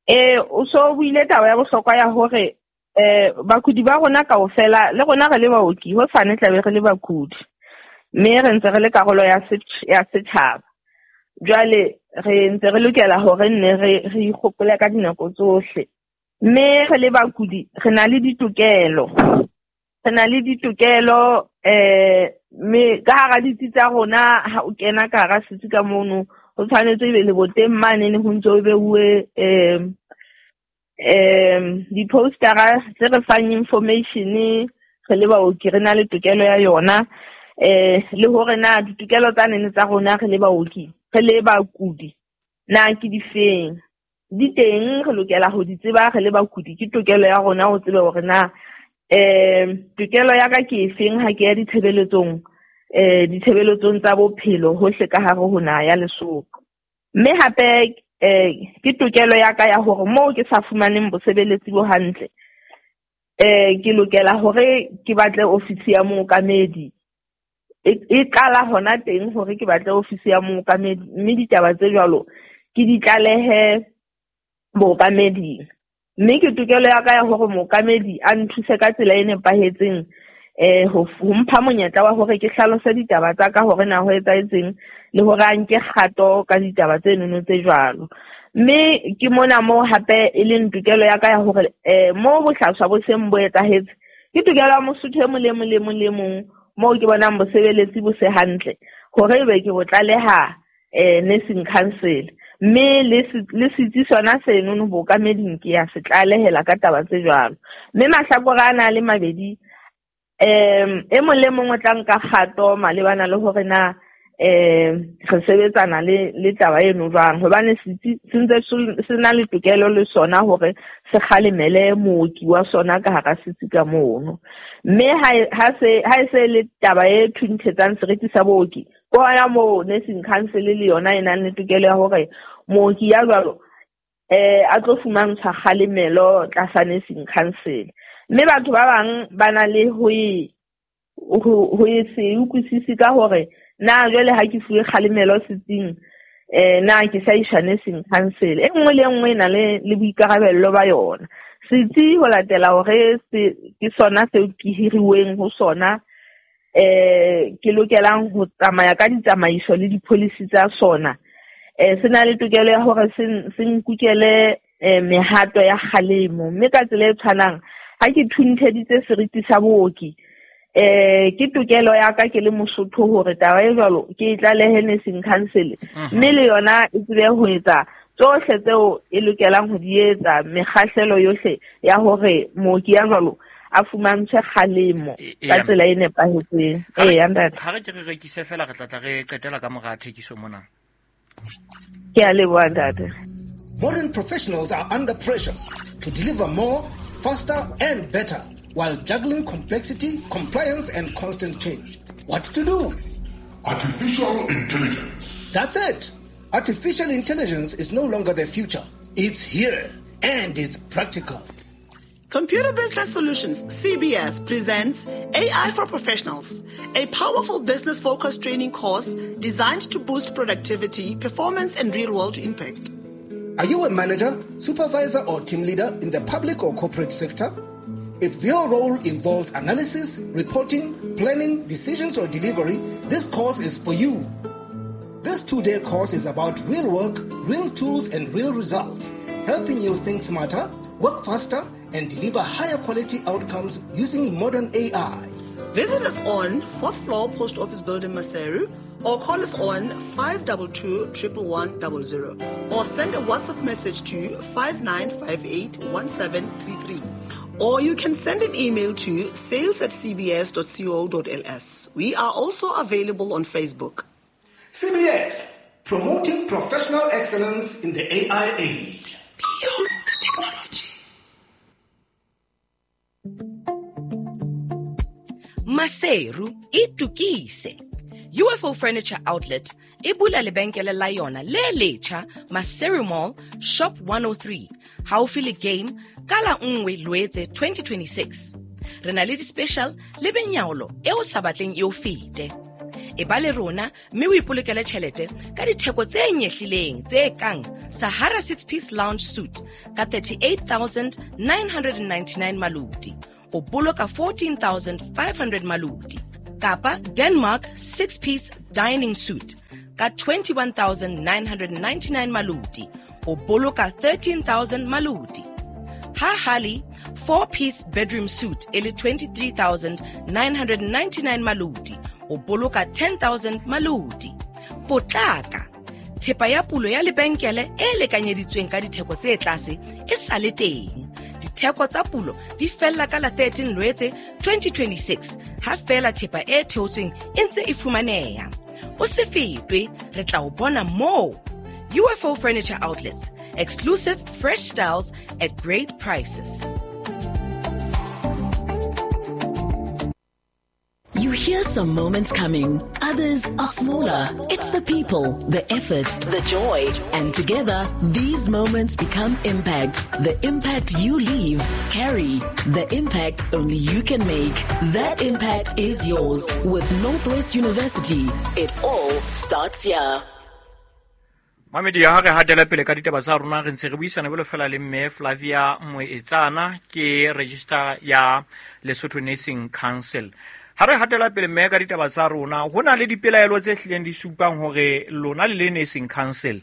eh o so buile taba ya bohlokwa ya hore eh bakudi ba rona kaofela le rona re le baoki ho sane tlabe re le bakudi, mme re ntse re le karolo ya ya setjhaba. Jwale re ntse re lokela hore nne re re ikgopole ka dinako tsohle, mme re le bakudi re na le ditokelo, re na le ditokelo eh mme ka hara ditsi tsa rona ha o kena ka hara setsi ka mono ho tshwanetse ebe le boteng mane ho ntse o beuwe eh um di-postera tse re fang information re le baoki re na le tokelo ya yona, eh le hore na ditokelo tsa nene tsa rona re le baoki re le bakudi na ke difeng di teng, re lokela ho di tseba re le bakudi. Ke tokelo ya rona ho tseba hore na eh tokelo ya ka ke efeng ha ke ya ditshebeletsong eh ditshebeletsong tsa bophelo hohle ka hare ho naha ya Lesotho. Mme hape eh ke tokelo ya ka ya hore moo ke sa fumaneng bosebeletsi bo hantle eh ke lokela hore ke batle ofisi ya mookamedi. E qala hona teng hore ke batle ofisi ya mookamedi, mme ditaba tse jwalo ke di tlalehe mookameding. Mme ke tokelo ya ka ya hore mookamedi a nthuse ka tsela e nepahetseng eh ho mpha monyetla wa hore ke hlalose ditaba tsa ka hore na ho etsahetseng le hore a nke kgato ka ditaba tse nono tse jwalo. Mme ke mona moo hape e leng tokelo ya ka ya hore eh moo bohlaswa bo seng bo etsahetse, ke tokelo ya Mosotho e mong le mong le mong le mong moo ke bonang bosebeletsi bo se hantle hore ebe ke bo tlaleha eh nursing council, mme le le setsi sona seno bookameding ke ya se tlalehela ka taba tse jwalo. Mme mahlakore a na le mabedi, um e mong le mong o tla nka kgato malebana le hore na eh re sebetsana le le taba eno jwang, hobane setsi se ntse se na le tokelo le sona hore se kgalemele mooki wa sona ka hara setsi ka mono. Mme ha se ha se le taba e thunthetsang seriti sa booki, ke hona moo nursing council le yona e nang le tokelo ya hore mooki ya jwalo eh a tlo fumantshwa kgalemelo tlasa nursing council. Mme batho ba bang ba na le ho e ho e se utlwisise ka hore na jwale ha ke fuwe kgalemelo setsing eh na ke sa iswa nursing council. E nngwe le nngwe e na le le boikarabello ba yona. Setsi ho latela hore se ke sona seo ke hiriweng ho sona eh ke lokelang ho tsamaya ka ditsamaiso le di-policy tsa sona, eh se na le tokelo ya hore se se nkukele mehato ya kgalemo. Mme ka tsela e tshwanang ha ke thuntheditse seriti sa booki eh ke tokelo ya ka ke le Mosotho hore taba e jwalo ke e tlalehe nursing council, mme le yona e tsebe ho etsa tsohle tseo e lokelang ho di etsa, mekgahlelo yohle ya hore mooki ya jwalo a fumantshwe kgalemo ka tsela e nepahetseng. Ee ntate, ha re ke re rekise fela re tla tla re qetela ka mora thekiso mona. Ke a leboha ntate. Modern professionals are under pressure to deliver more, faster and better while juggling complexity, compliance and constant change. What to do? Artificial intelligence. That's it. Artificial intelligence is no longer the future. It's here and it's practical. Computer Business Solutions, C B S, presents A I for Professionals, a powerful business-focused training course designed to boost productivity, performance, and real-world impact. Are you a manager, supervisor, or team leader in the public or corporate sector? If your role involves analysis, reporting, planning, decisions, or delivery, this course is for you. This two-day course is about real work, real tools, and real results, helping you think smarter, work faster, and deliver higher quality outcomes using modern A I. Visit us on fourth floor Post Office Building, Maseru, or call us on five two two, one one one zero zero, or send a WhatsApp message to five nine five eight one seven three three. Or you can send an email to sales at c b s dot co dot l s. We are also available on Facebook. C B S, promoting professional excellence in the A I age. Beyond technology. Maseru itukise. U F O Furniture Outlet e bula lebenkele la yona le letjha Maseru Mall, Shop one oh three, haufi le Game, ka la nngwe Loetse twenty twenty-six. Re na le di-special le benyaolo e o sa batleng e o fete. E ba le rona mme o ipolokele tjhelete ka ditheko tse nyehlileng tse kang Sahara six-piece lounge suit ka thirty-eight thousand nine hundred ninety-nine maluti, o boloka fourteen thousand five hundred maluti, kapa Denmark six-piece dining suit ka twenty-one thousand nine hundred ninety-nine maluti, o boloka thirteen thousand maluti. Ha Hali four-piece bedroom suit e le twenty-three thousand nine hundred ninety-nine maluti, o boloka ten thousand maluti. Potlaka, thepa ya pulo ya lebenkele e lekanyeditsweng ka ditheko tse tlase e sa le teng. Ditheko tsa pulo di fella ka la thirteen Loetse twenty twenty-six, ha fela thepa e theotsweng e ntse e fumaneha. O se fetwe, re tla o bona moo. U F O Furniture Outlets, exclusive fresh styles at great prices. You hear some moments coming, others are smaller. It's the people, the effort, the joy, and together, these moments become impact. The impact you leave, carry. The impact only you can make. That impact is yours. With Northwest University, it all starts here. Mamedi ha re hatela pele ka ditaba tsa rona re ntse re buisana jwalo fela le mme Flavia Moetsana ke register ya Lesotho Nursing Council. Ha re hatela pele mme ka ditaba tsa rona ho na le dipelaelo tse hlileng di supang hore lona le le Nursing Council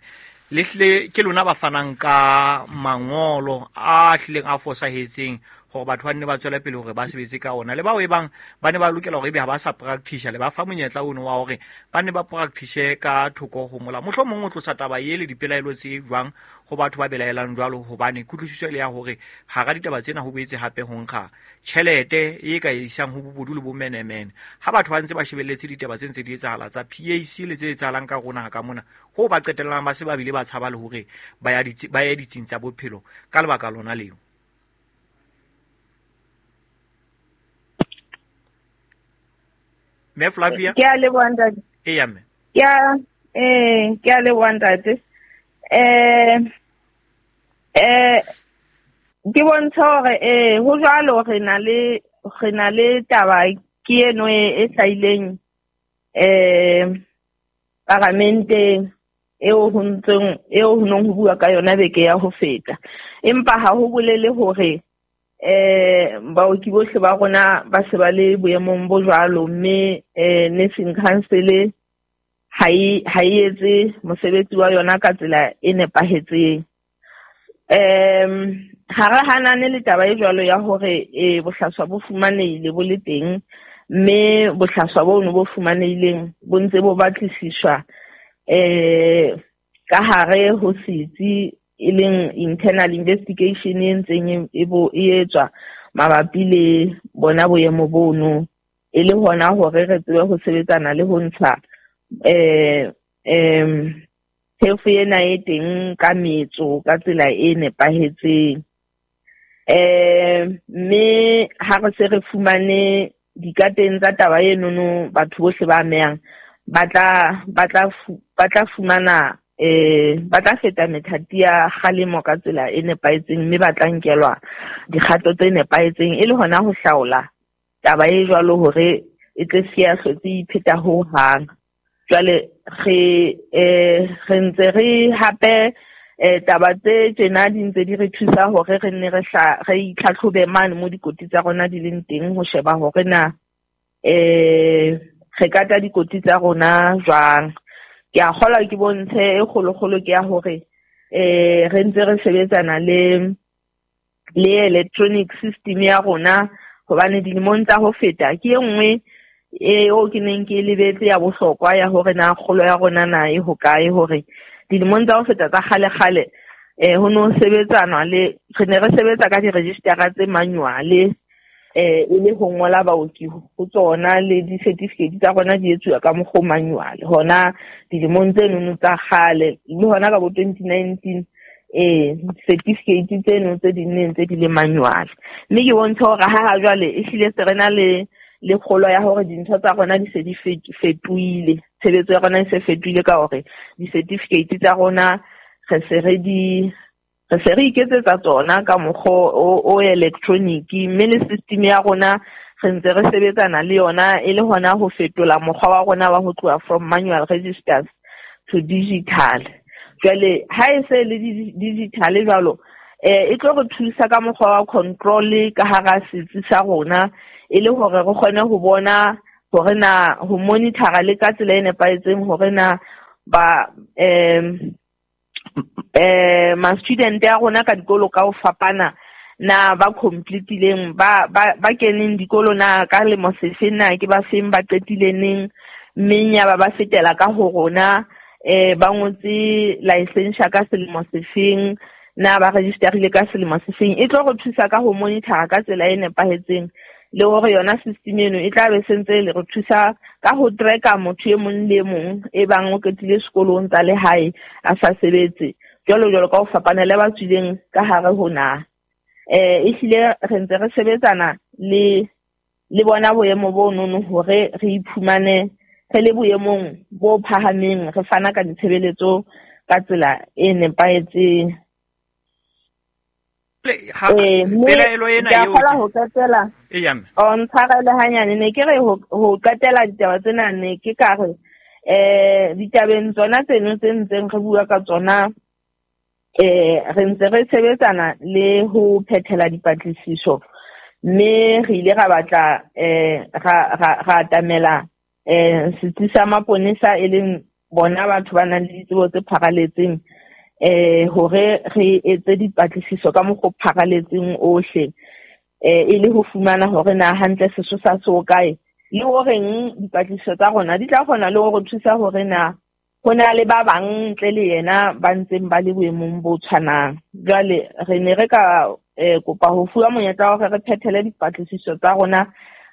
le hle ke lona ba fanang ka mangolo a hlileng a fosahetseng hore batho ba nne ba tswele pele hore ba sebetse ka ona le bao e bang ba ne ba lokela hore ebe ha ba sa practice le ba fa monyetla ono wa hore ba ne ba practice ka thoko ho mola. Mohlomong o tlosa taba ye le dipelaelo tse jwang ho batho ba belaelang jwalo hobane kutlwisiso le ya hore hara ditaba tsena ho boetse hape ho nkga tjhelete e ka isang ho bobodu le bomenemene. Ha batho ba ntse ba shebelletse ditaba tse ntse di etsahala tsa P A C le tse etsahalang ka rona ha ka mona ho ba qetellang ba se ba bile ba tshaba le hore ba ya ditsi ba ya ditsing tsa bophelo ka lebaka lona leo. Me Flavia? Ke a leboha ntate. Eya mme. Ke a eh ke a leboha ntate. Eh eh ke bontsha hore eh ho jwalo re na le re na le taba ke eno e hlahileng eh paramenteng eo ho ntseng eo ho nong ho bua ka yona beke ya ho feta. Empa ha ho bolele hore eh baoki bohle ba rona ba se ba le boemong bo jwalo mme eh Nursing Council ha e ha e etse mosebetsi wa yona ka tsela e nepahetseng. Em ha re hanane le taba e jwalo ya hore eh bohlaswa bo fumanehile bo le teng mme bohlaswa bono bo fumanehileng bo ntse bo batlisiswa eh ka hare ho setsi e leng internal investigation e ntseng e bo e etswa mabapi le bona boemo bono e le hona hore re tsebe ho sebetsana le ho ntsha eh em tefo ena e teng ka metso ka tsela e nepahetseng. Eh mme ha re se re fumane dikateng tsa taba enono batho bohle ba amehang ba tla ba tla ba tla fumana eh ba tla feta methati ya kgalemo ka tsela e nepahetseng mme ba tla nkelwa dikgato tse nepahetseng e le hona ho hlaola taba e jwalo hore e tle se ya hlotse ipheta ho hang. Jwale re eh re ntse re hape eh taba tse tjena di ntse di re thusa hore re nne re hla re itlhatlhobe mane mo dikoti tsa rona di leng teng ho sheba hore na eh re kata dikoti tsa rona jwang. Ke a kgolwa ke bontshe e kgolokgolo ke ya hore eh re ntse re sebetsana le le electronic system ya rona hobane dilemong tsa ho feta ke e nngwe e o ke neng ke lebetse ya bohlokwa ya hore na kgolo ya rona na e hokae hore dilemong tsa ho feta tsa kgale-kgale eh ho no sebetsanwa le re ne re sebetsa ka di-registera tse manual eh e le ho ngola baoki ho tsona le di-certificate tsa rona di etsuwa ka mokgwa manual hona dilemong tse nono tsa kgale le hona ka bo twenty nineteen eh certificate tseno tse di neng tse di le manual. Mme ke bontsha hore ha ha jwale e hlile se re na le le kgolo ya hore dintho tsa rona di se di fetohile, tshebetso ya rona e se fetohile ka hore di-certificate tsa rona re se re di re se re iketsetsa tsona ka mokgwa o electronic, mme le system ya rona re ntse re sebetsana le yona e le hona ho fetola mokgwa wa rona wa ho tloha from manual registers to digital. Jwale ha e se le digital jwalo eh e tlo re thusa ka mokgwa wa control ka hara setsi sa rona, e le hore re kgone ho bona hore na ho monitor le ka tsela e nepahetseng hore na ba em eh ma student ya rona ka dikolo ka ho fapana na ba completileng ba ba ba keneng dikolo na ka lemo sefeng, na ke ba feng ba qetile neng, mme ya ba ba fetela ka ho rona eh ba ngotse license ka selemo sefeng, na ba registerile ka selemo sefeng. E tlo re thusa ka ho monitor ka tsela e nepahetseng, le hore yona system eno e tla be sentse le re thusa ka ho tracker motho e mong le mong e bang o qetile sekolong tsa lehae a sa sebetse jwalo jwalo ka ho fapana le ba tswileng ka hare ho na. Eh ehlile re ntse re sebetsana le le bona boemo bo nono hore re iphumane re le boemong bo phahameng, re fana ka ditshebeletso ka tsela e nepahetseng. Pelaelo ena eo ke ho qetela o ntshwarele hanyane, ne ke re ho qetela ditaba tsena ne ke ka re eh ditabeng tsona tseno tse ntseng re bua ka tsona eh re ntse re sebetsana le ho phethela dipatlisiso, mme re ile ra batla eh ra ra atamela eh setsi sa maponesa e leng bona batho ba nang le ditsebo tse pharaletseng eh hore re etse dipatlisiso ka mokgwa o pharaletseng ohle eh e le ho fumana hore na hantle sesosa se hokae, le horeng dipatlisiso tsa rona di tla kgona le hore thusa hore na ho na le ba bang ntle le yena ba ntseng ba le boemong bo tshwanang. Jwale re ne re ka kopa ho fuwa monyetla wa hore re phethele dipatlisiso tsa rona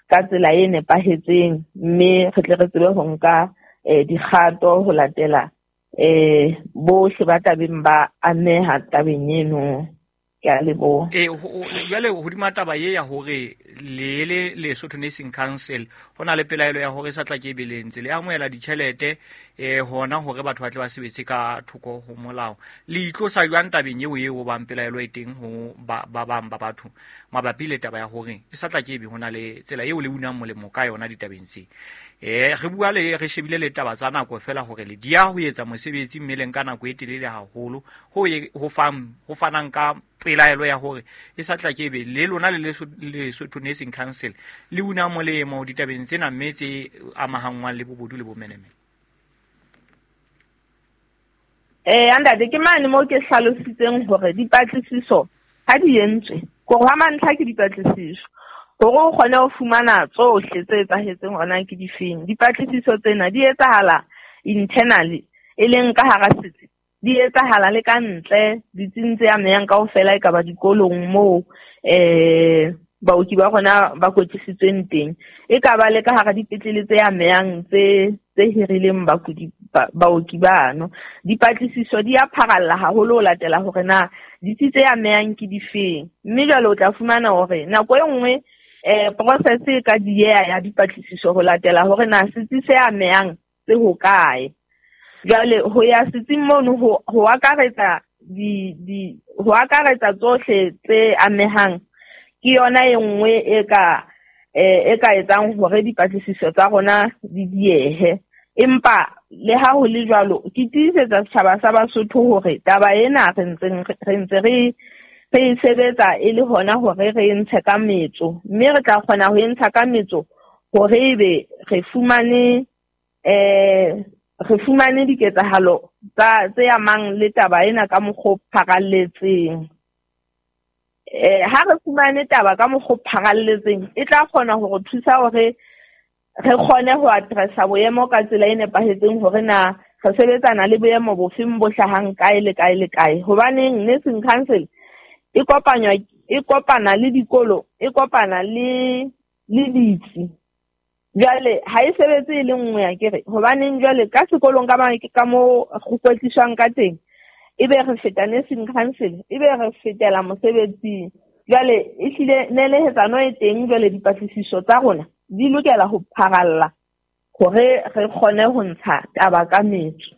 ka tsela e nepahetseng, mme re tle re tsebe ho nka dikgato ho latela eh bohle ba tabeng ba ameha tabeng eno. Ke a leboha. Eh jwale hodima taba ye ya hore le le Lesotho Nursing Council ho na le pelaelo ya hore sa tla ke be le ntse le amohela ditjhelete eh hona hore batho ba tle ba sebetse ka thoko ho molao, le itlosa jwang tabeng eo eo bang pelaelo e teng ho ba ba bang ba batho mabapi le taba ya hore e sa tla ke be hona le tsela eo le unang molemo ka yona ditabeng tse? Eh re bua le re shebile le taba tsa nako fela hore le dia ho etsa mosebetsi mmeleng ka nako e telele haholo ho ho fang ho fanang ka pelaelo ya hore e sa tla ke be le lona le Lesotho Nursing Council le una molemo ditabeng tsena mme tse amahangwang le bobodu le bomenemene. Eh andate ke mane mo ke hlalositseng hore dipatlisiso ha di entswe gore ha mantlha ke dipatlisiso hore o kgone ho fumana tsohle tse etsahetseng hona ke difeng. Dipatlisiso tsena di etsahala internally e leng ka hara setsi, di etsahala le ka ntle ditsing tse amehang kaofela e ka ba dikolong moo eh baoki ba rona ba kwetlisitsweng teng, e ka ba le ka hara dipetlele tse amehang tse tse hirileng bakudi baoki bano. Dipatlisiso di a pharalla haholo ho latela hore na ditsi tse amehang ke difeng, mme jwale o tla fumana hore nako e nngwe eh process e ka dieha ya dipatlisiso ho latela hore na setsi se amehang se hokae. Jwale ho ya setsing mono ho ho akaretsa di di ho akaretsa tsohle tse amehang ke yona e nngwe e ka e ka etsang hore dipatlisiso tsa rona di diehe. Empa le ha ho le jwalo ke tiisetsa setjhaba sa Basotho hore taba ena re ntse re ntse re re sebetsa e le hona hore re ntshe ka metso, mme re tla kgona ho ntsha ka metso hore ebe re fumane eh re fumane diketsahalo tsa tse amang le taba ena ka mokgwa o pharalletseng. Eh ha re fumane taba ka mokgwa o pharalletseng e tla kgona hore thusa hore re kgone ho addressa boemo ka tsela e nepahetseng hore na re sebetsana le boemo bofeng bo hlahang kae le kae le kae. Hobaneng Nursing Council e kopanywa e kopana le dikolo, e kopana le le ditsi. Jwale ha e sebetse e le nngwe ya kere hobaneng jwale ka sekolong ka ba ka mo go kwetliswang ka teng ebe re feta Nursing Council ebe re fetela mosebetsing. Jwale ehlile nelehetsano e teng, jwale dipatlisiso tsa rona di lokela ho pharalla hore re kgone ho ntsha taba ka metso,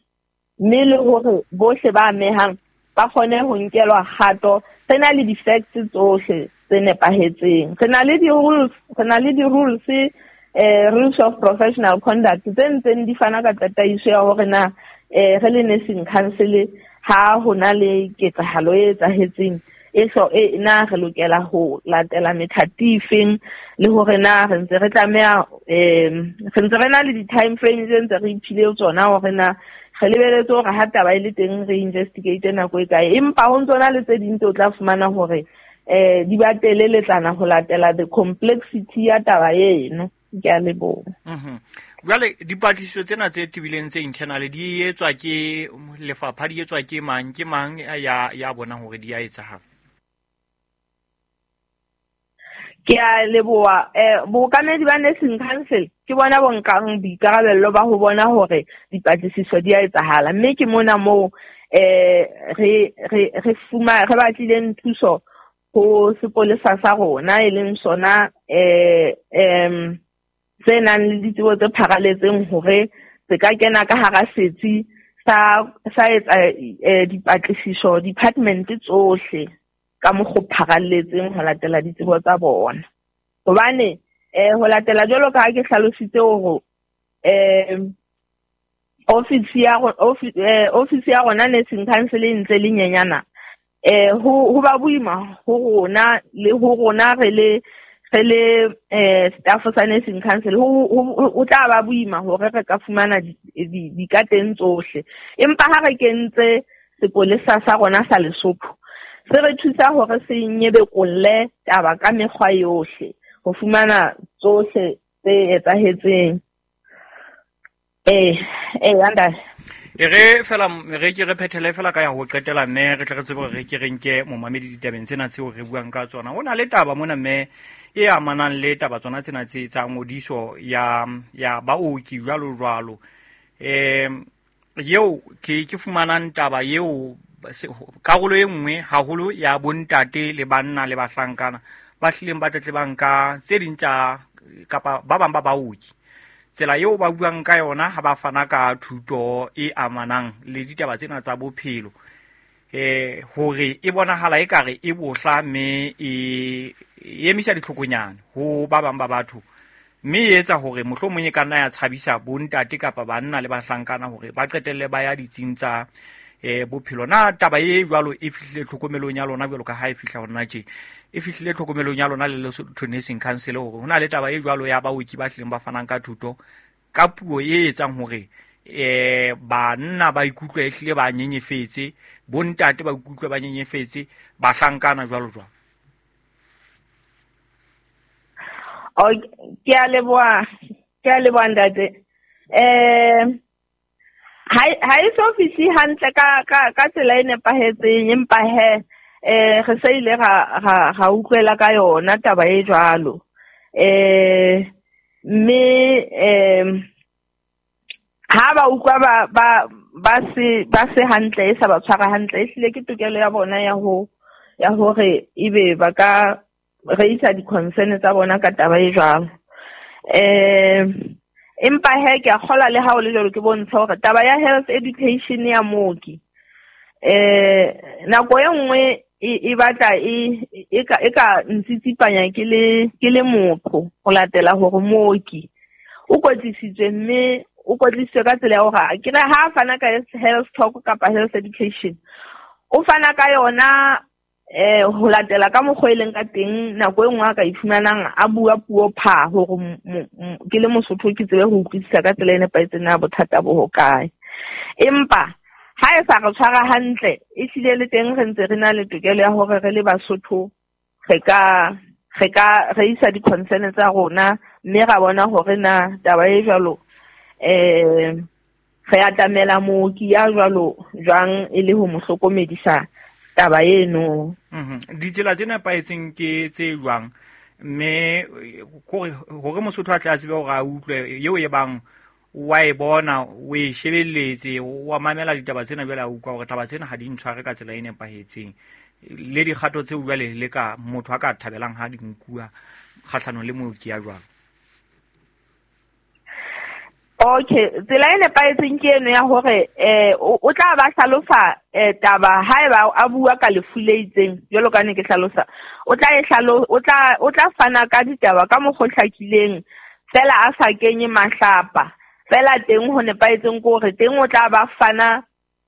mme le hore bohle ba amehang ba kgone ho nkelwa kgato. Re na le di-facts tsohle tse nepahetseng, re na le di-rules, re na le di-rules eh rules of professional conduct tse ntseng di fana ka tataiso ya hore na eh re le nursing council ha ho na le ketsahalo e etsahetseng e so e na re lokela ho latela methati efeng, le hore na re ntse re tlameha eh re ntse re na le di-time frame tse ntse re iphile tsona hore na re lebeletse hore ha taba e le teng re investigate nako e kae. Empa ho ntso na le tse ding tse o tla fumana hore eh di ba teleletlana ho latela the complexity ya taba eno. Ke a leboha. Mhm. Jwale dipatlisiso tsena tse tebileng tse internal di etswa ke lefapha, di etswa ke mang, ke mang ya ya bonang hore di a etsahala? Ke a leboha. Eh bookamedi ba nursing council ke bona bo nkang boikarabello ba ho bona hore dipatlisiso di a etsahala, mme ke mona moo eh re re re fuma re batlileng thuso ho sepolesa sa rona, e leng sona eh em tse nang le ditsebo tse pharaletseng hore se ka kena ka hara setsi sa sa etsa dipatlisiso department tsohle ka mokgo pharaletseng ho latela ditsebo tsa bona. Hobane eh ho latela jwalo ka ha ke hlalositse hore eh office ya office ya rona nursing council e ntse le nyenyana, eh ho ho ba boima ho rona le ho rona re le re le eh staff sa nursing council ho ho tla ba boima hore re ka fumana dikateng tsohle. Empa ha re kentse sepolesa sa rona sa Lesotho se re thusa hore se nyebekolle taba ka mekgwa yohle ho fumana tsohle tse etsahetseng. Eh eh anda E re fela re ke re phethele fela ka ya ho qetela mme re tle re tsebe hore re ke re nke momamedi ditabeng tsena tseo re buang ka tsona. Ho na le taba mona mme e amanang le taba tsona tsena tse tsa ngodiso ya ya baoki jwalo jwalo. Eh eo ke ke fumanang taba eo karolo e nngwe haholo ya bontate le banna le bahlankana ba hlileng ba tletlebang ka tse ding tsa kapa ba bang ba baoki. Tsela eo ba buang ka yona ha ba fana ka thuto e amanang le ditaba tsena tsa bophelo eh hore e bonahala ekare e bohla mme e emisa ditlhokonyana ho ba bang ba batho, mme e etsa hore mohlomong e ka nna ya tshabisa bontate kapa banna le bahlankana hore ba qetelle ba ya ditsing tsa eh bophelo. Na taba e jwalo e fihlile tlhokomelong ya lona jwalo ka ha e fihla hona tje, e fihlile tlhokomelong ya lona le Lesotho Nursing Council hore hona le taba e jwalo ya baoki ba hlileng ba fanang ka thuto ka puo e etsang hore eh banna ba ikutlwe e hlile ba nyenyefetse, bontate ba ikutlwe ba nyenyefetse, bahlankana jwalo jwalo? O ke a leboha, ke a leboha ntate. Eh ha ha e so fihle hantle ka ka ka tsela e nepahetseng, empa he eh re se ile ra ra ra utlwela ka yona taba e jwalo. Eh mme eh ha ba utlwa ba ba ba se ba se hantle e sa ba tshwara hantle, ehlile ke tokelo ya bona ya ho ya hore ebe ba ka reisa di-concern tsa bona ka taba e jwalo. Eh empa he ke a kgola le ha o le jwalo ke bontsha hore taba ya health education ya mooki eh nako e nngwe e batla e e ka e ka ntsitsipanya ke le ke le motho ho latela hore mooki o kwetlisitswe mme o kwetlisitswe ka tsela ya hore ke re ha fana ka health talk kapa health education o fana ka yona eh ho latela ka mokgwa e leng ka teng. Nako e nngwe a ka ifumanang a bua puo pha hore ke le Mosotho ke tsebe ho utlwisisa ka tsela e nepahetseng na bothata bo hokae. Empa ha e sa re tshwara hantle, ehlile le teng re ntse re na le tokelo ya hore re le Basotho re ka re ka re isa di-concern tsa rona mme ra bona hore na taba e jwalo eh re atamela mooki ya jwalo jwang e le ho mo hlokomedisa taba eno. Mhm. Ditsela tse nepahetseng ke tse jwang mme hore hore Mosotho a tle a tsebe hore a utlwe eo e bang wa e bona o e shebelletse wa mamela ditaba tsena jwale a utlwa hore taba tsena ha di ntshware ka tsela e nepahetseng, le dikgato tseo jwale le ka motho a ka thabelang ha di nkuwa kgahlanong le mooki ya jwalo? Okay, tsela e nepahetseng ke eno ya hore eh o tla ba hlalosa taba haeba a bua ka lefu le itseng jwalo ka ne ke hlalosa o tla e hlalo o tla o tla fana ka ditaba ka mokgwa o hlakileng fela a sa kenye mahlapa fela teng ho nepahetseng ke hore teng o tla ba fana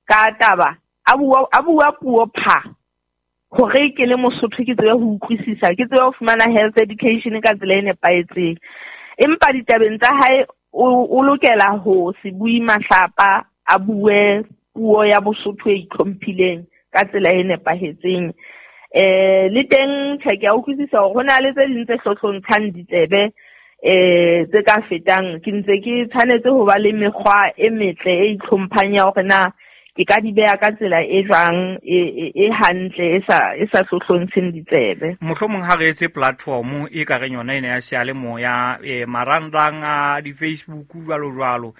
ka taba a bua a bua puo pha hore ke le Mosotho ke tsebe ho utlwisisa ke tsebe ho fumana health education ka tsela e nepahetseng empa ditabeng tsa hae o lokela ho se bue mahlapa a bue puo ya Bosotho e itlhomphileng ka tsela e nepahetseng eh le teng tjhe ke a utlwisisa hore hona le tse ding tse hlohlontshang ditsebe eh tse ka fetang ke ntse ke tshwanetse ho ba le mekgwa e metle e itlhomphang ya hore na ke ka di beha ka tsela e jwang e e hantle e sa e sa hlohlontsheng ditsebe. Mohlomong ha re etse platform e ka reng yona ena ya seyalemoya e marangrang a di Facebook jwalo jwalo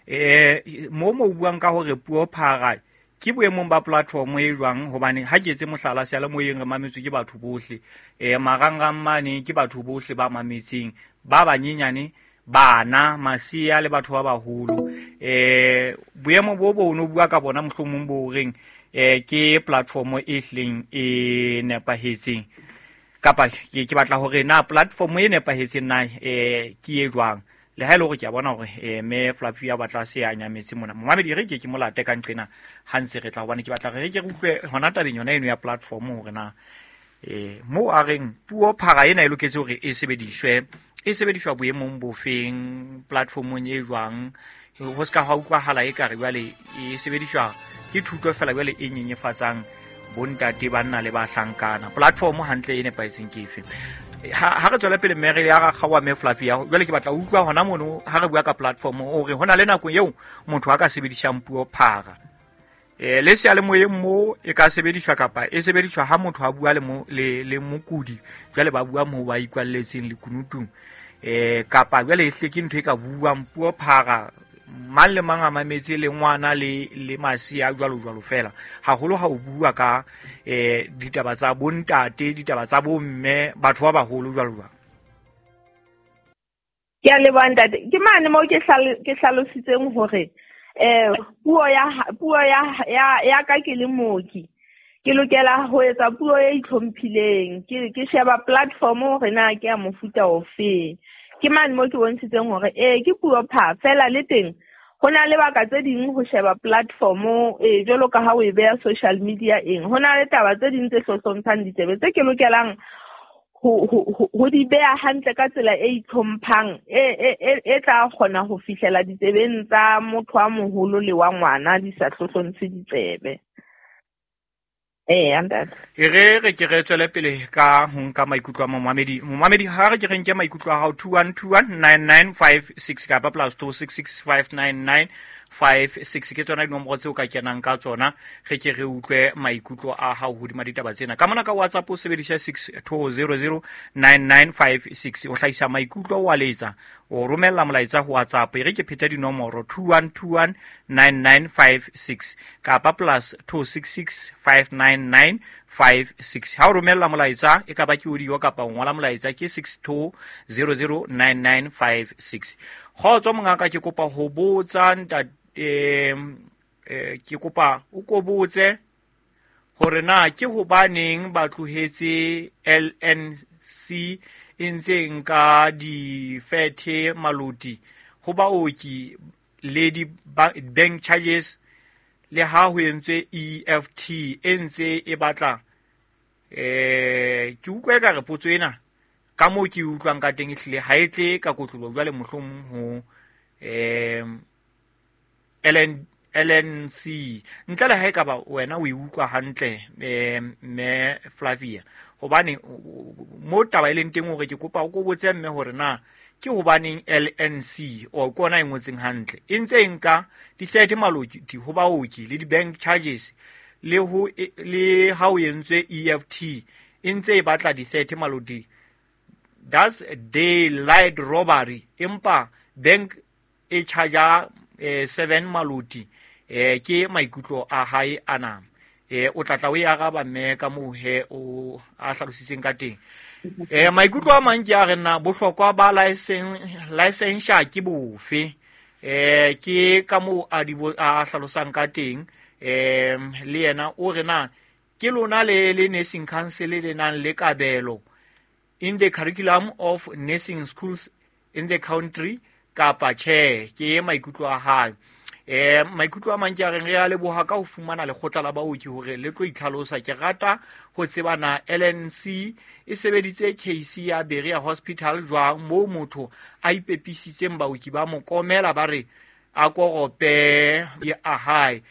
eh mo mo buang ka hore puo phara ke boemong ba platform e jwang hobane ha ke etse mohlala seyalemoyeng re mametswe ke batho bohle eh marangrang mane ke batho bohle ba mametseng ba banyenyane bana masiya le batho ba baholo eh boemo bo bo no bua ka bona mohlomong bo reng eh ke platform e hleng e nepahetseng kapa ke ke batla hore na platform e nepahetseng na eh ke e jwang le ha ile hore ke a bona hore eh me Flavia batla se a nyametse mona momamedi re ke ke molate ka nqena ha ntse re tla hobane ke batla re ke re utlwe hona tabeng yona eno ya platform hore na eh mo a reng puo phara ena e loketse hore e sebediswe e sebediswa boemong bofeng platformong e jwang ho ska ha utlwahala e ka re jwale e sebediswa ke thuto fela jwale e nyenyefatsang bontate banna le bahlankana platform hantle e nepahetseng ke efe ha re tswela pele mme re ya ra kgaowa mme Flavia jwale ke batla ho utlwa hona mono ha re bua ka platform hore hona le nako eo motho a ka sebedisang puo phara eh le seyalemoyeng mo e ka sebediswa kapa e sebediswa ha motho a bua le mo le le mokudi jwale ba bua mo ba ikwalletseng lekunutung eh kapa jwale e hle ke ntho e ka buang puo phara mang le mang a mametse le ngwana le le masiya jwalo jwalo fela haholo ha o bua ka eh ditaba tsa bontate ditaba tsa bomme batho ba baholo jwalo jwalo. Ke a leboha ntate ke mane mo ke ke hlalositseng hore eh puo ya puo ya ya ya ka ke le mooki ke lokela ho etsa puo e itlhomphileng ke ke sheba platform hore na ke ya mofuta ofe ke mane mo ke bontshitseng hore eh ke puo pha fela le teng ho na le baka tse ding ho sheba platform eh jwalo ka ha o e beha social media eng ho na le taba tse ding tse hlohlontshang ditsebe tse ke lokelang ho ho di beha hantle ka tsela e itlhomphang e e e tla kgona ho fihlela ditsebeng tsa motho wa moholo le wa ngwana di sa hlohlontshe ditsebe. Eh ntate e re re ke re tswele pele ka ho nka maikutlo a momamedi momamedi ha re ke re nke maikutlo a hao two one two one nine nine five six kapa plus two six six five nine nine five six ke tsona dinomoro tseo ka kenang ka tsona re ke re utlwe maikutlo a hao hodima ditaba tsena ka mona ka WhatsApp o sebedisa six two zero zero nine nine five six o hlahisa maikutlo o a letsa o romella molaetsa ho WhatsApp e re ke pheta dinomoro two one two one nine nine five six kapa plus two six six five nine nine five six ha o romella molaetsa e ka ba ke audio kapa o ngola molaetsa ke six two zero zero nine nine five six kgotso mongaka ke kopa ho botsa ntate eh ke kopa o ko botse hore na ke hobaneng ba tlohetse L N C e ntse nka difethe maloti ho baoki le di bank charges le ha ho entswe E F T e ntse e batla eh ke utlwa ka re potso ena ka moo ke utlwang ka teng ehlile ha e tle ka kotlolo jwale mohlomong ho eh L N L N C ntle le ha e ka ba wena o e utlwa hantle eh mme Flavia hobane mo taba e leng teng hore ke kopa o ko botse mme hore na ke hobaneng L N C o ke ona e ngotseng hantle e ntse e nka dihlete maloti ho baoki le di-bank charges le ho le ha o entswe E F T e ntse e batla dihlete maloti that's daylight robbery empa bank e charge eh, seven maloti eh, ke maikutlo a hae ana eh o tlatla o e araba mme ka moo he o a hlalositseng ka teng eh maikutlo a mang ke a re na bohlokwa ba license licensure ke bofe Eh ke ka moo a di a hlalosang ka teng eh le yena o re na ke lona le le nursing council le nang le kabelo in the curriculum of nursing schools in the country kapa tjhe. Ke maikutlo a hae. Eh maikutlo a mang ke a reng re a leboha ka ho fumana lekgotla la baoki hore le tlo itlhalosa. Ke rata ho tseba na L N C e sebeditse case ya Berea Hospital jwang moo motho a ipepisitseng baoki ba mokomela ba re a korope ya a hae.